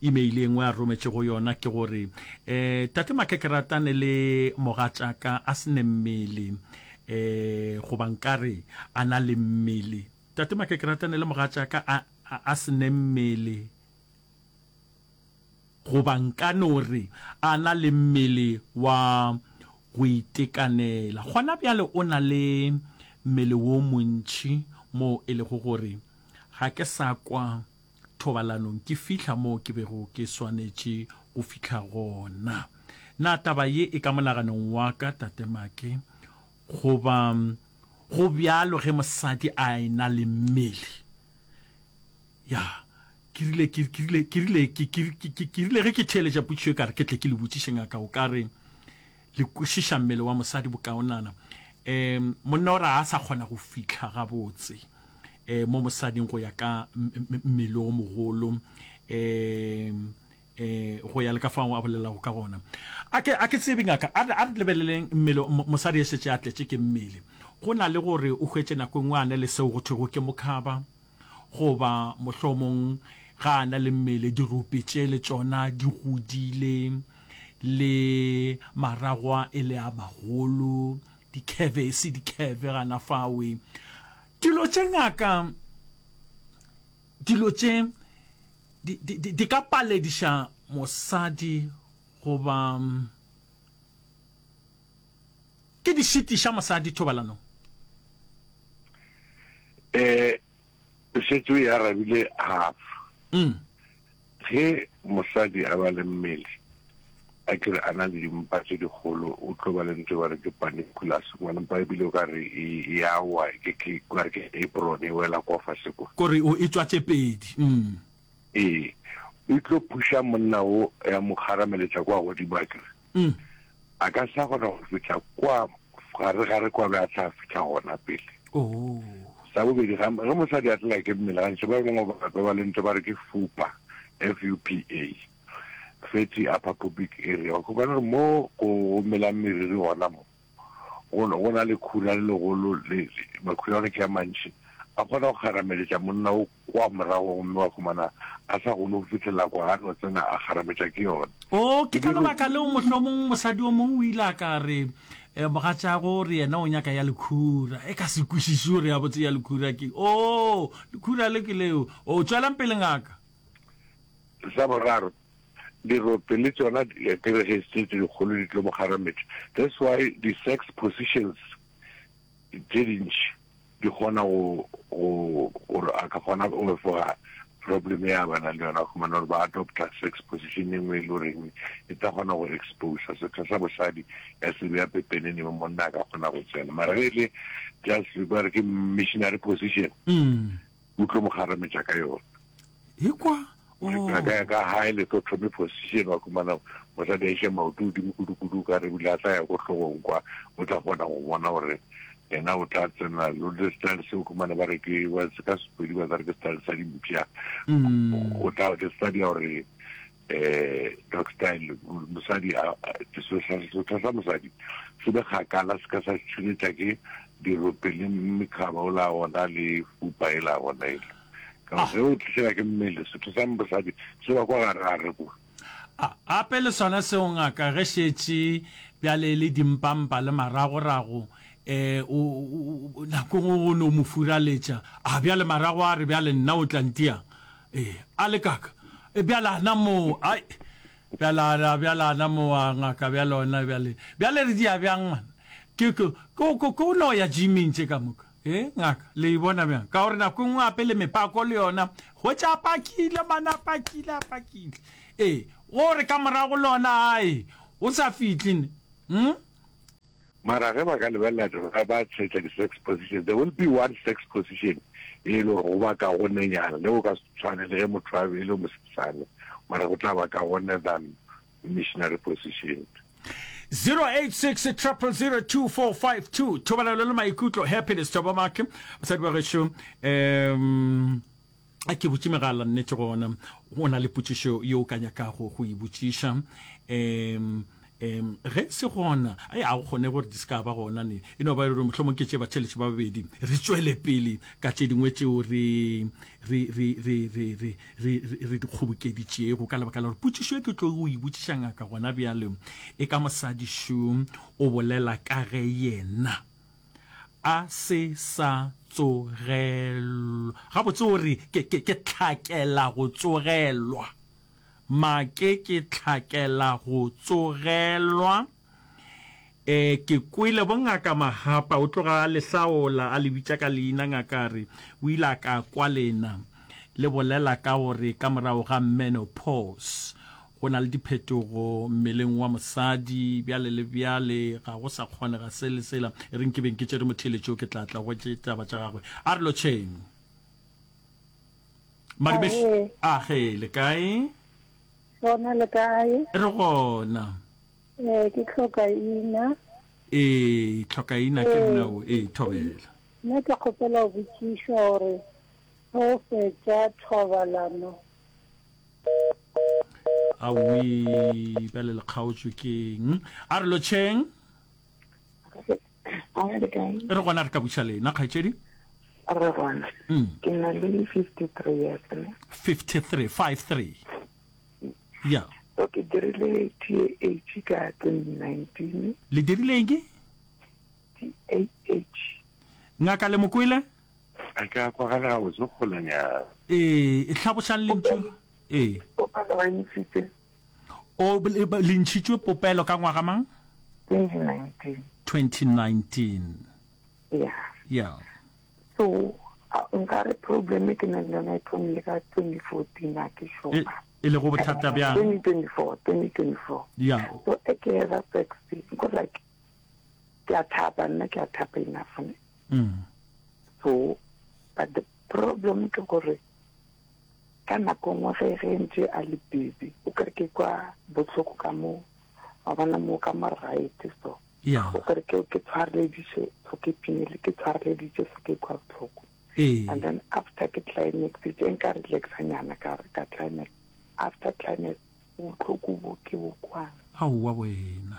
email e nngwe a rometšego yona ke gore, um Tate Make ke ratane le mogatšaka a se ne mmele, um goba nkare a na le mmele. Tate Make ke ratane le mogatšaka a, a, a se ne mmele. Goba nka no re a na le mmele wa go itekanela. Gona bjale o na le mmele wo montši moo e lego gore ga ke sa kwa thobalanong ke fihla moo ke bego ke swanetše go fihla gona. Na taba ye e ka monaganong wa ka, Tate Make? Goba go bjalo ge mosadi a e-na le mmele? Ya, ke rile, ke, ke rile, ke rile, ke, ke, ke, ke, ke rile ge ke theeletša potšišo e ka re ke tle ke le botšiše ngaka, o ka re le kwešiša mmele wa mosadi bokaonana. Um, monna o re a sa kgona go fihla gabotse um mo mosading go ya ka mmele o mogolo um um go ya le ka fao a bolelago ka gona. A ke, a ke tsebe ngaka, a re, a re lebeleleng mmele, mosadi e šetše a tletše ke mmele. Go na le gore o hwetše nako e nngwe a na le seo go thwego ke mokhaba, Goba mohlomong ga a na le mmele, dirope tše le tšona di godile, le maragwa e le a magolo, dikheve e se dikheve gana fawe. Dilo tše ngaka, dilo tše di, di, di, di ka palediša mosadi goba ke di šitiša mosadi thobalanong. Eh, o šetše o e arabile half. Mm. Ge mosadi a ba le mmele, a ke re a na le dimpa tše dikgolo, o tlo ba le ntho ba re ke paniculus, ngwana mpa ebile o ka re e, e a wa, ke, ke, o ka re ke apron e wela kwa fase kwa. Kore o e tšwa tše pedi. Mm. Ee, e tlo phuša monna o ya mo kgarameletša kwa godimo a ke re. Mm. A ka sa kgona go fihla kwa gare gare kwa be a tla fihla gona pele. Oh. Sa bobedi, ga ge mosadi a tlela ke mmele, gantši ba bangwe ba ba le ntho ba re ke FUPA, F-U-P-A, fatty upper pubic area. Wa khumana gore mo go melang meriri gona mo, go go na le khura le legolo, le, makhura a ke a mantši, a kgona go kgarameletša monna o kwa morago gomme wa humana a sa kgone go fihlelela kwa, a no tsena a kgarametša ke yona. Oo, ke ka lebaka leo mohlomong mosadi o mongwe o ile a ka re, eh, mogatšago re yena o nyaka ya lekhura. E ka se kwešiše gore ya botse ya lekhura ke. Oo, lekhura le ke leo. O, tšwelang pele ngaka. Sa boraro, dirope le tšona ke re ge tše dikgolo di tlo mo kgarametša. That's why di-sex positions tše dintši di kgona go go gore a ka kgona go efoga problem ya ba na le yona khumana gore ba adopta sex position e nngwe e le goreng e tla kgona go exposa setho sa bosadi ya se beya pepenene mo monna a ka kgona go tsena mara ge e le just ba re ke missionary position mm. o tlo mo kgarametša ka yona Ekwa, oh. Ka ya ka high lithotomy position wa khumana mosadi a iše maoto godimo kudu-kudu ka re bile a tla ya ko hlogong kwa o tla kgona go bona gore yena o tla tsena le style seo khumana ba re ke ba se ka Sepedi ba re ke style sa dimpša mm. o tla ke style ya gore eh dog style mosadi a setho sa mosadi se be kgakala se ka sa tšhuletša ke dirope le mekhaba o la gona le fupa e la gona ele Ka gore ge o tlišela ke mmele, setho sa mosadi se ba kwa gare-gare kwa. A, gape le sona seo ngaka ge šetše bjale e le dimpampa le maragorago. um o, nako nngwe o no mo furaletša, a bjale marago a re bjale nna o tla ntiang? Ee, a le kaka, e bjale ana moo, ai, bjale ana, bjale ana moo, a ngaka bjale ona bjale, bjale re dia bjang man? Ke, ke, ke, ke, ke o no ya gyming tše ka moka, e, ngaka, le e bona bjang? Ka gore nako nngwe gape le mepako le yona, hwetša a pakile man, a pakile, a pakile, ee, o re ka morago le ona, ai, o sa fihle ne, hm? Mara ge ba ka lebelela ba ba tshetša di sex position, there will be one sex position e le gore go ba kagonenyana, le go ka se tshwane le ge motho a be e le mosesane, mara go tla ba kagone than missionary position. 086 000 2452 Thobalano le maikutlo Happiness Thobamake Basadi ba gešo um a ke butše megala nnete gona o na le potšišo ye o ka nyakago go e botšiša um um ge se gona ai a go kgone gore di se ka ba gona ne e no ba e le gore mohlomong ke tše batheletši ba babedi re tšwele pele ka tše dingwe tšeo re re re re re re re re di kgobokeditšego ka lebaka la gore potšišo e ke tlo go e botšiša ngaka gona bjale e ka mosadi šo o bolela ka ge yena A se sa tsogelwa. Gabotse o re, Ke, ke, ke hlakela go tsogelwa. Make ke hlakela go tsogelwa. E, ke kwele bongaka Mahapa, o tloga a le hlaola, a le bitša ka leina, ngaka a re, o ile a ka kwa lena le bolela ka gore ka morago ga menopause, Go na le diphetogo mmeleng wa mosadi bjale le bjale, ga go sa kgonega se le sela. E reng ke beng ke tšere motheeletši yo, ke tla tla go tše taba tša gagwe. A re lotšheng. Madume, Ahee. age, le kae? Gona le kae? Re gona. Eh, ke tlhokaina. Ee, tlhokaina ke nna o. Ee, thobela. Nna ke kgopela go botšiša gore ge o fetša thobalano Aowi, bjale le kgaotšwe keng? A re lotšheng. Re gona re ka buša lena, kgaetšedi. Re gona. Mm. Ke na le 53 years ne. 53, 53. Yeah. So ke dirile TAH ka 2019. Le dirile eng? TAH. Ngaka le mokwele? A ka kwagala gabotse kgolanyana. Ee, hlabošang lentšu. Ee. Popelo ba ntšhitše. O, le ntšhitšwe popelo ka ngwaga mang? 2019. 2019. Yeah. Yeah. So, nka re problem e ke nang le yona e thomile ka 2014 a ke sure. E, e lego bothata bjang? 2024, 2024. Yeah. So, e ke eza sex, because like, ke a thapa nna ke a thapa enough ne. Mm. So, but the problem ke gore ka nako nngwe ge ge ntse a le busy o kere ke kwa bohloko ka mo wa bona mo ka mo right so yeah. o kere ke ke tshwareleditše so ke pinele ke tshwareleditše so ke kwa bohloko ee. and then after ke climax tše nka relaxa nyana ka ka climax after climax Bohloko bo ke bo kwang. Aowa wena.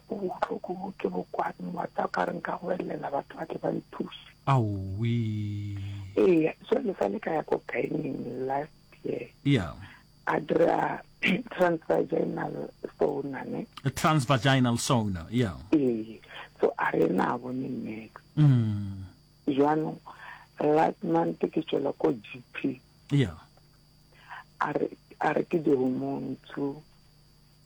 Bohloko bo ke bo kwang, wa tseba o ka re nka goelela batho ba tle ba nthuše. Aowi. Eya, jwale sa le ka ya ko gyning last year. Yeah. A dira transvaginal sona ne. Transvaginal sona, yeah. Ee, so a re na bone nex. Mm. Jwanong last month ke tšwela ko GP. Yeah. A re, a re ke di-hormone tso,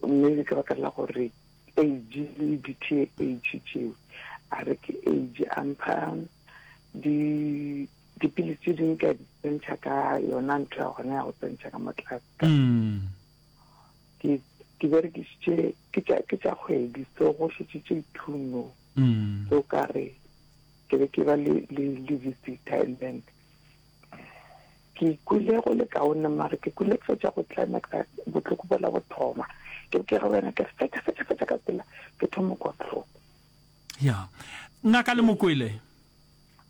maybe ka baka la gore age le di-TH tšeo, a re ke age, a mpha di dipilisi tše dingwe ke a di tsentšha ka yona ntho ya gona ya go tsentšha ka mo tlase ka. Mm. Ke ke berekišitše ke tša ke tša kgwedi so go šetše tše thuno. Mm. So ka re ke be ke ba le le le visitor and then Ke kwele go le kaone, mare ke kwele ke fetša go climaxa bohloko bola bo thoma. Ke be ke re wena ke re fetša fetša fetša ka pela ke thoma kwa bohloko. Ya. Ngaka le mokwele.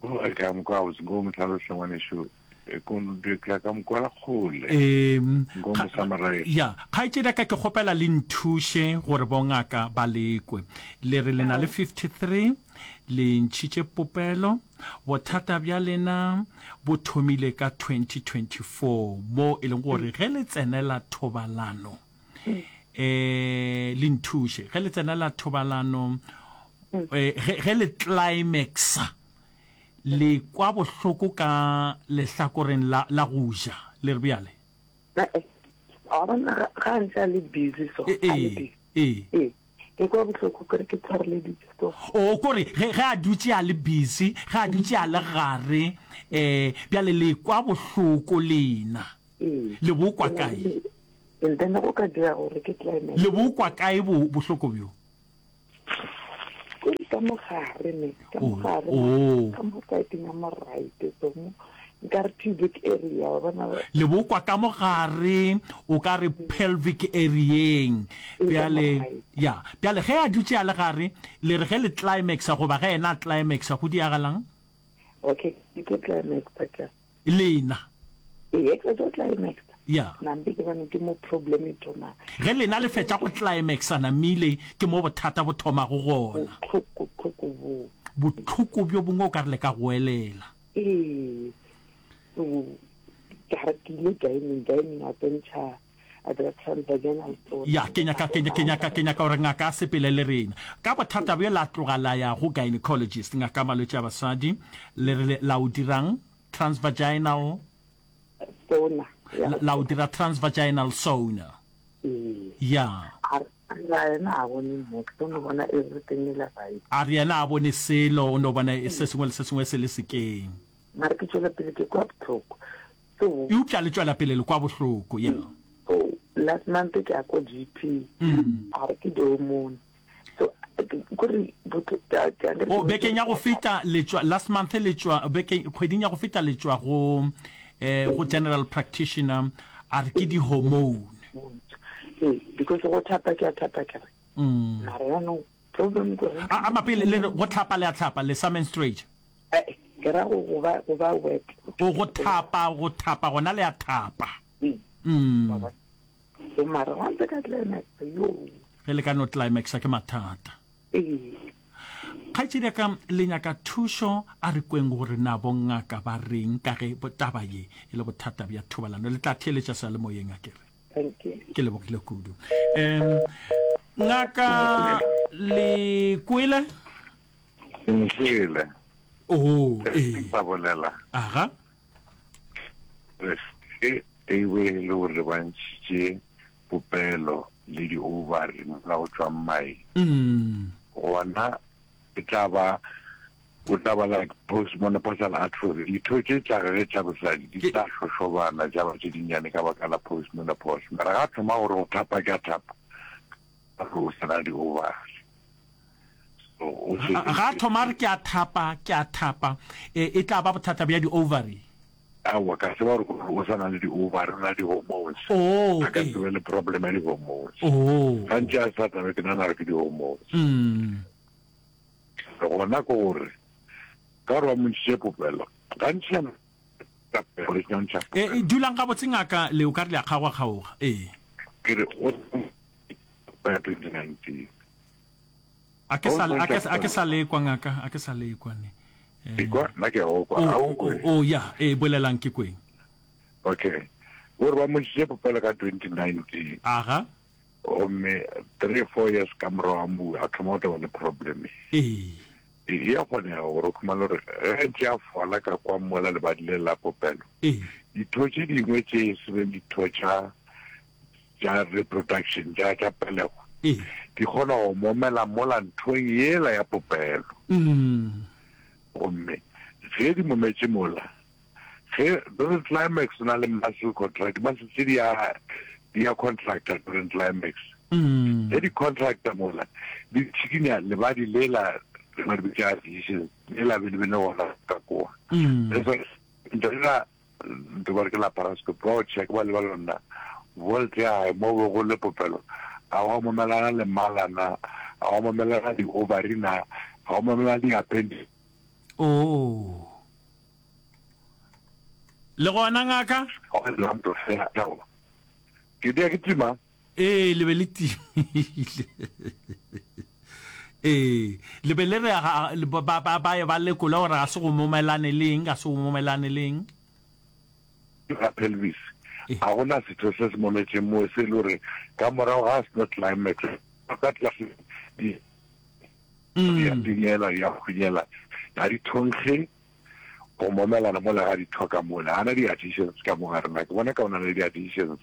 O re ka mokwa gabotse nko mo hlaloše ngwanešu ke ka mokwela kgole. Ee, Nko mo summarize. ya kgaetšedi ya ka ke kgopela le nthuše gore bongaka ba lekwe. Le re le na le 53 le ntšhitše popelo Bothata bja lena bo thomile ka 2024 mo e leng gore ge le tsenela thobalano um le nthuše ge le tsenela thobalano. Eh, ge, ge le climaxa le kwa bohloko ka lehlakoreng la, la go ja, le re bjale? Eh, wa bona ga ga a ntse a le busy so, Eh, a le ee, busy. ee. Ee, ke kwa bohloko kore ke tshwareleditše so. O kore ge, ge a dutše a le busy, ge a dutše a le gare, eh, bjale le kwa bohloko lena. Ee. Le bo kwa kae? And then go ka dira gore ke climax. Le bo kwa kae bo, bohloko bjo? Kore ka mo gare ne, ka mo Oh, gare, oh. ka mo side ya mo right, so mo nkare pubic area, wa bona. Le bo kwa ka mo gare, o ka re pelvic area-eng. Ee, ka mo Bjale, right. ya, bjale ge a dutše a le gare, le re ge le climaxa goba ge yena a climaxa, go diagalang? Okay, ke tlo climaxa ka. Lena. Ee, ke tlo climaxa. Ya. Nampe ke bone ke mo problem e thomang. Ge lena le fetša go climaxa namile, ke mo bothata bo thomago gona. Bohloko, bohloko bo. Bohloko bjo bongwe o ka re le ka goelela. Ee. So, ka re ke ile gyning, gyning a tsentšha a dira transvaginal sona. Ya, ke nyaka, ke, ke nyaka, ke nyaka gore ngaka a sepele le rena. Ka bothata bjo la tloga la ya go gynecologist, ngaka ya malwetši a basadi, le re la o dirang? Transvaginal? Sona. Ya. La, la o dira transvaginal sona. Ee. Ya. A re, a re yena a bone niks, o no bona everything e le right. A re yena a bone selo, o no bona se sengwe le se sengwe se le sekeng. Mara ke tšwela pele ke kwa bohloko. So. Eupša le tšwela pele le kwa bohloko, ya. So, last month ke ya ko GP, a re ke di-hormone. So, kore Oh, bekeng ya go feta le tšwa, last month le tšwa, bekeng, kgweding ya go feta le tšwa go, eh, go general practitioner, a re ke di-hormone. Ee, because go thapa ke a thapa ke re. Mara jaanong problem ke gore. A, a mapele le re go tlhapa le a tlhapa, le sa menstruate? Eh, ke ra go, go ba, go ba wet. O go thapa, go thapa gona le a thapa. Mm. Wa bona? So mara wa ntse ka climax, yo. Ge le ka no climaxa ke mathata. Ee. Kgaetšedi ya ka, le nyaka thušo, a re kweng gore na bongaka ba reng ka ge taba ye e le bothata bja thobalano. Le tla theeletša seyalemoyeng a ke re. Thank you. Ke lebogile kudu. Um, ngaka le kwele? Nkwele. Oh, ee. Sa bolela. Aga. Ge e be e le gore ba ntšhitše popelo le di-ovary mola go tšwang mae, gona e tla ba o tla ba like postmenopausal atrophy. Ditho tše tša gage tša bosadi di tla šošobana tša ba tše dinnyane ka baka la postmenopause. Mara ga a thoma gore go thapa ke a thapa, ka gore o sa na le di-ovary. So, o Ga a thoma a re ke a thapa, ke a thapa, e, e tla ba bothata bja di-ovary. Aowa, ka tseba gore o sa na le di-ovary, o na le di-hormones. Oh, A ka ee. se be le problem ya di-hormones. Oh. Gantši a sa tlabe ke nagana gore ke di-hormones. Mm. Gona ke gore, ka gore ba mo ntšhitše popelo, gantši ya popelo, e ntšha E, e, dulang gabotse ngaka, le o ka re le a kgaoga-kgaoga. Ee. Ke re, o ya 2019. A ke sa, a ke, a ke sa lekwa ngaka, a ke sa lekwa ne. Eh. Ikwa, nna ke a go kwa, a o nkwe? O, ya, ee, bolelang ke kweng. Okay. O re ba mo ntšhitše popelo ka 2019. Aga. Gomme 3, 4 years ka morago ga moo a thoma go tla ba le problem. Ee. E a kgonega gore o khumane gore ge ntše a fola ka kwa mola lebadi le la popelo. Ee. Ditho tše dingwe tše e se beng ditho tša tša reproduction, tša, tša pelego, Ee. di kgona go momela mola nthong yela ya popelo. Mm. Gomme ge di mometše mola, ge during climax o na le muscle contract, muscle tše di a, di a contracta during climax. Mm. Ge di contracta mola, di tšhikinya lebadi lela, re ba di bitša adhesions, lela be le be le gona ka koa. Mm. That's why ntho ela Ntho ba re ke laparoscopy, ba go check ba leba lona volt ya gae mo be go le popelo, a wa momelana le mala na, a wa momelana di ovary na, a wa momelana di appendix. Oh. Le gona ngaka? Ke dia ke tima. Ee, le be le timile. Ee, le be le re ba ba ba ye ba lekole gore ga se go momelane le eng, ga se go momelane le eng. Ga pelvis, ga gona setho se se mometšeng moo se e le gore ka morago ga seno climax ka tlase di. Di a tinyela, di a hunyela, ga di thonkge go momelana mola ga di thoka mola. Ga na di-adhesions ka mo gare na. Ke bona ka o na le di-adhesions.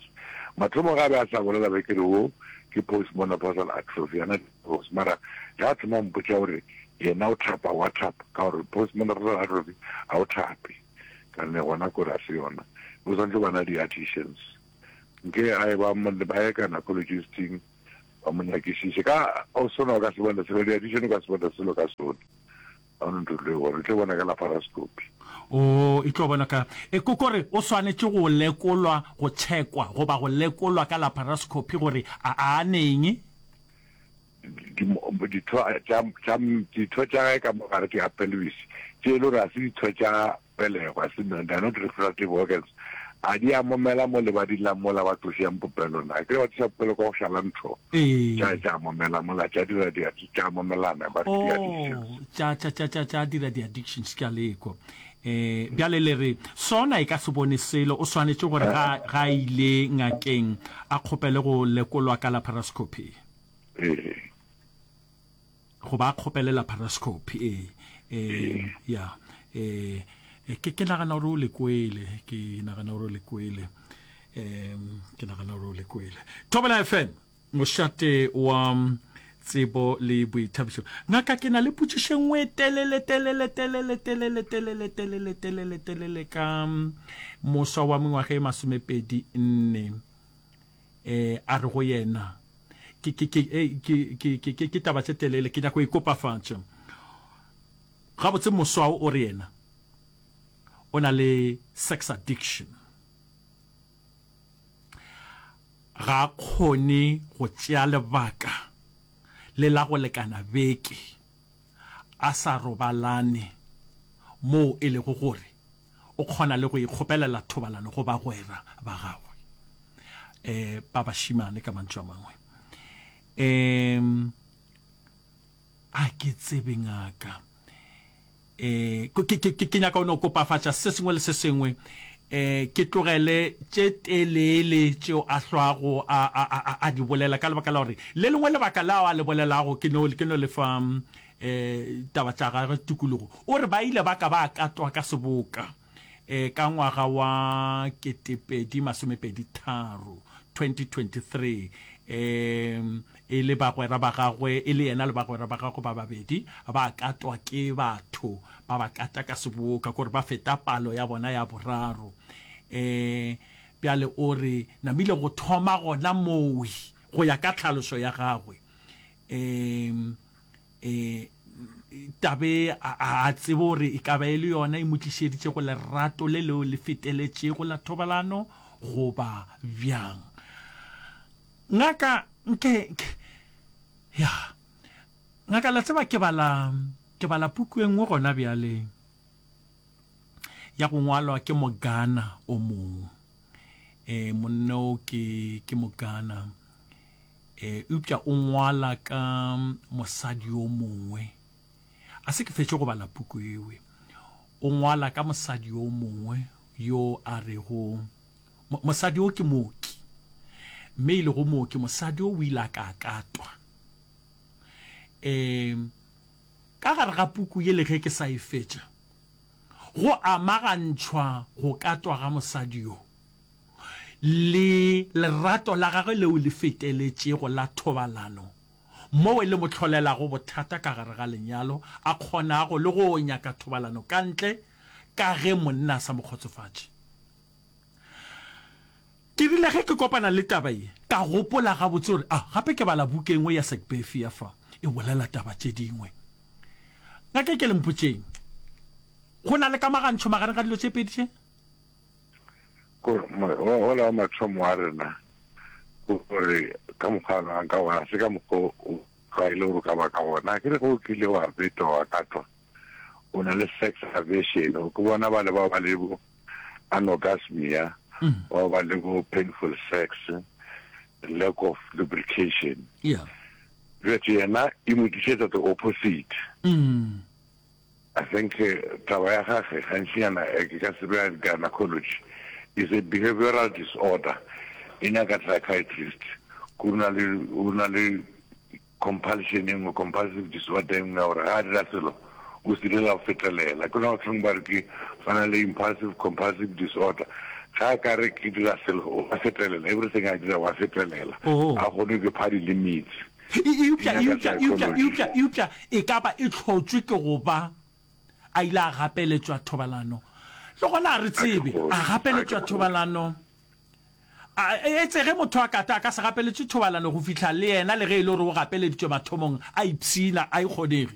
Mathomo ga a be a sa bolela be ke re wo ke postmenopausal atrophy, ga na di-post. Mara ge a thoma go mpotša gore yena o thapa, wa thapa, ka gore postmenopausal atrophy ga o thape. Ka ne gona kore ga se yona. O swanetše go ba na di-adhesions. Nke a e ba ba ye gynecologist-ing ba mo nyakišiše. Ka o sona o ka se bone selo, di-adhesion o ka se bone selo ka sona. Ga o ntho tlo e bona, o tlo bona ka laparoscopy. O e tlo bona ka e ko kore o swanetše go lekolwa, go tšhekwa goba go lekolwa ka laparoscopy gore a a neng. Ditho tša tša ditho tša gae ka mogare ke a pelvis tše e le gore ga se ditho tša pelego, ga se they are not reproductive organs, a di a momela mo lebading la mola ba tlošang popelo na? Akere ba tloša popelo ka go šala ntho, tša tša momela mola tša dira di tša momelana ba re ke di-addictions. Oh, tša tša tša tša tša dira di-addictions, ke a lekwa. Eh, bjale le re sona e ka se bone selo, o swanetše gore ga ga a ile ngakeng a kgopele go lekolwa ka laparoscopy. Ee. Goba a kgopele laparoscopy, ee. Eh, ya. Eh, ke ke nagana gore o le kwele, ke nagana gore o le kwele. Um, ke nagana gore o le kwele. Thobela FM, mošate wa tsebo le boithabišo. Ngaka, ke na le potšišo e nngwe telele, telele, telele, telele, telele, telele, telele, telele ka moswa wa mengwaga e masomepedi nne. Eh, a re go yena, ke, ke, ke, eh, ke, ke, ke, ke, ke taba tše telele, ke nyako e kopafatša. Gabotse moswa o re yena o na le sex addiction. Ga a kgone go tšea lebaka le la go lekana beke a sa robalane moo e lego gore o kgona le go ikgopelela thobalano go bagwera ba gagwe um ba bašemane ka mantšu a mangwe. Um a ke tsebe ngaka. Eh, ke, ke, ke, ke nyaka o no kopafatša se sengwe le se sengwe. Eh, ke tlogele tše telele tšeo a hlwago a, a, a, a, a di bolela ka lebaka la gore le lengwe lebaka lao a le bolelago ke no, ke no le fa eh, taba tša gagwe tikologo. O re ba ile ba ka ba katwa ka seboka eh, ka ngwaga wa 2023, 2023, eh, e le bagwera ba gagwe, e le yena le bagwera ba gagwe ba babedi, ba katwa ke batho ba ba kata ka seboka, kore ba feta palo ya bona ya boraro. Eh, bjale o re namile go thoma gona mowe, go ya ka tlhaloso ya gagwe. Eh, E, tabe a, a tsebe gore e ka ba e le yona e mo tlišeditše go lerato le leo le feteletšego la thobalano goba bjang. Ngaka, nke, nke, ya, ngaka, la tseba ke bala, ke bala puku e nngwe gona bjale ya go ngwalwa ke Mogana o mongwe. E, monna o ke, ke Mogana. E, eupša o ngwala ka mosadi yo mongwe. A se ke fetše go bala puku ewe. O ngwala ka mosadi yo mongwe yo a rego, mosadi yo ke mooki. Mme e lego mooki, mosadi yo o ile a ka katwa. E, ka gare ga puku ye le ge ke sa e fetša, go amagantšhwa go katwa ga mosadi yo. le lerato la gagwe leo le feteletšego la thobalano, moo le mo hlolelago bothata ka gare ga lenyalo, a kgonago le go nyaka thobalano ka ntle ka ge monna a sa mo kgotsofatše. Ke rile ge ke kopana le taba ye, ka gopola gabotse gore, ah, gape ke bala buka e nngwe ya Segbefia fa, e bolela taba tše dingwe. Ngaka ke le mpotšeng, go na le kamagantšho magareng ga dilo tše pedi tše? Wola wa mathomo wa rena gore ka mokgwa a nang ka gona se ka mokgwa o tlwaele gore o ka ba ka gona. Ke re ge o kile wa betwa wa katwa o na le sex aversion, o ke bona ba le ba ba le bo anorgasmia, ba ba le bo painful sex, lack of lubrication. Yeah. Jwale yena e mo tlišetsa the opposite. Mm. I think taba ya gage gantšinyana ke ka se bea gynecology is a behavioral disorder e nyaka psychiatrist ko na le o na le compulsion e nngwe, compulsive disorder e nngwe ya gore ga a dira selo o se direla go fetelela. Ke yona bahlomongwe ba re ke ba na le impulsive compulsive disorder. Ga a ka re ke dira selo o a fetelela, everything a dira wa fetelela. Oh. A kgone ke pha di-limits. E, eupša, Di nyaka eupša, eupša, psychology. eupša, eupša e ka ba e hlotšwe ke go ba a ile a gapeletšwa thobalano. Le gona a re A ke tsebe, kgolwe, a a ke gapeletšwa kgolwe. thobalano. A, etse ge motho a kata a ka se gapeletšwe thobalano go fihla le yena le ge e le gore o gapeleditšwe mathomong a ipshina, a e kgonege.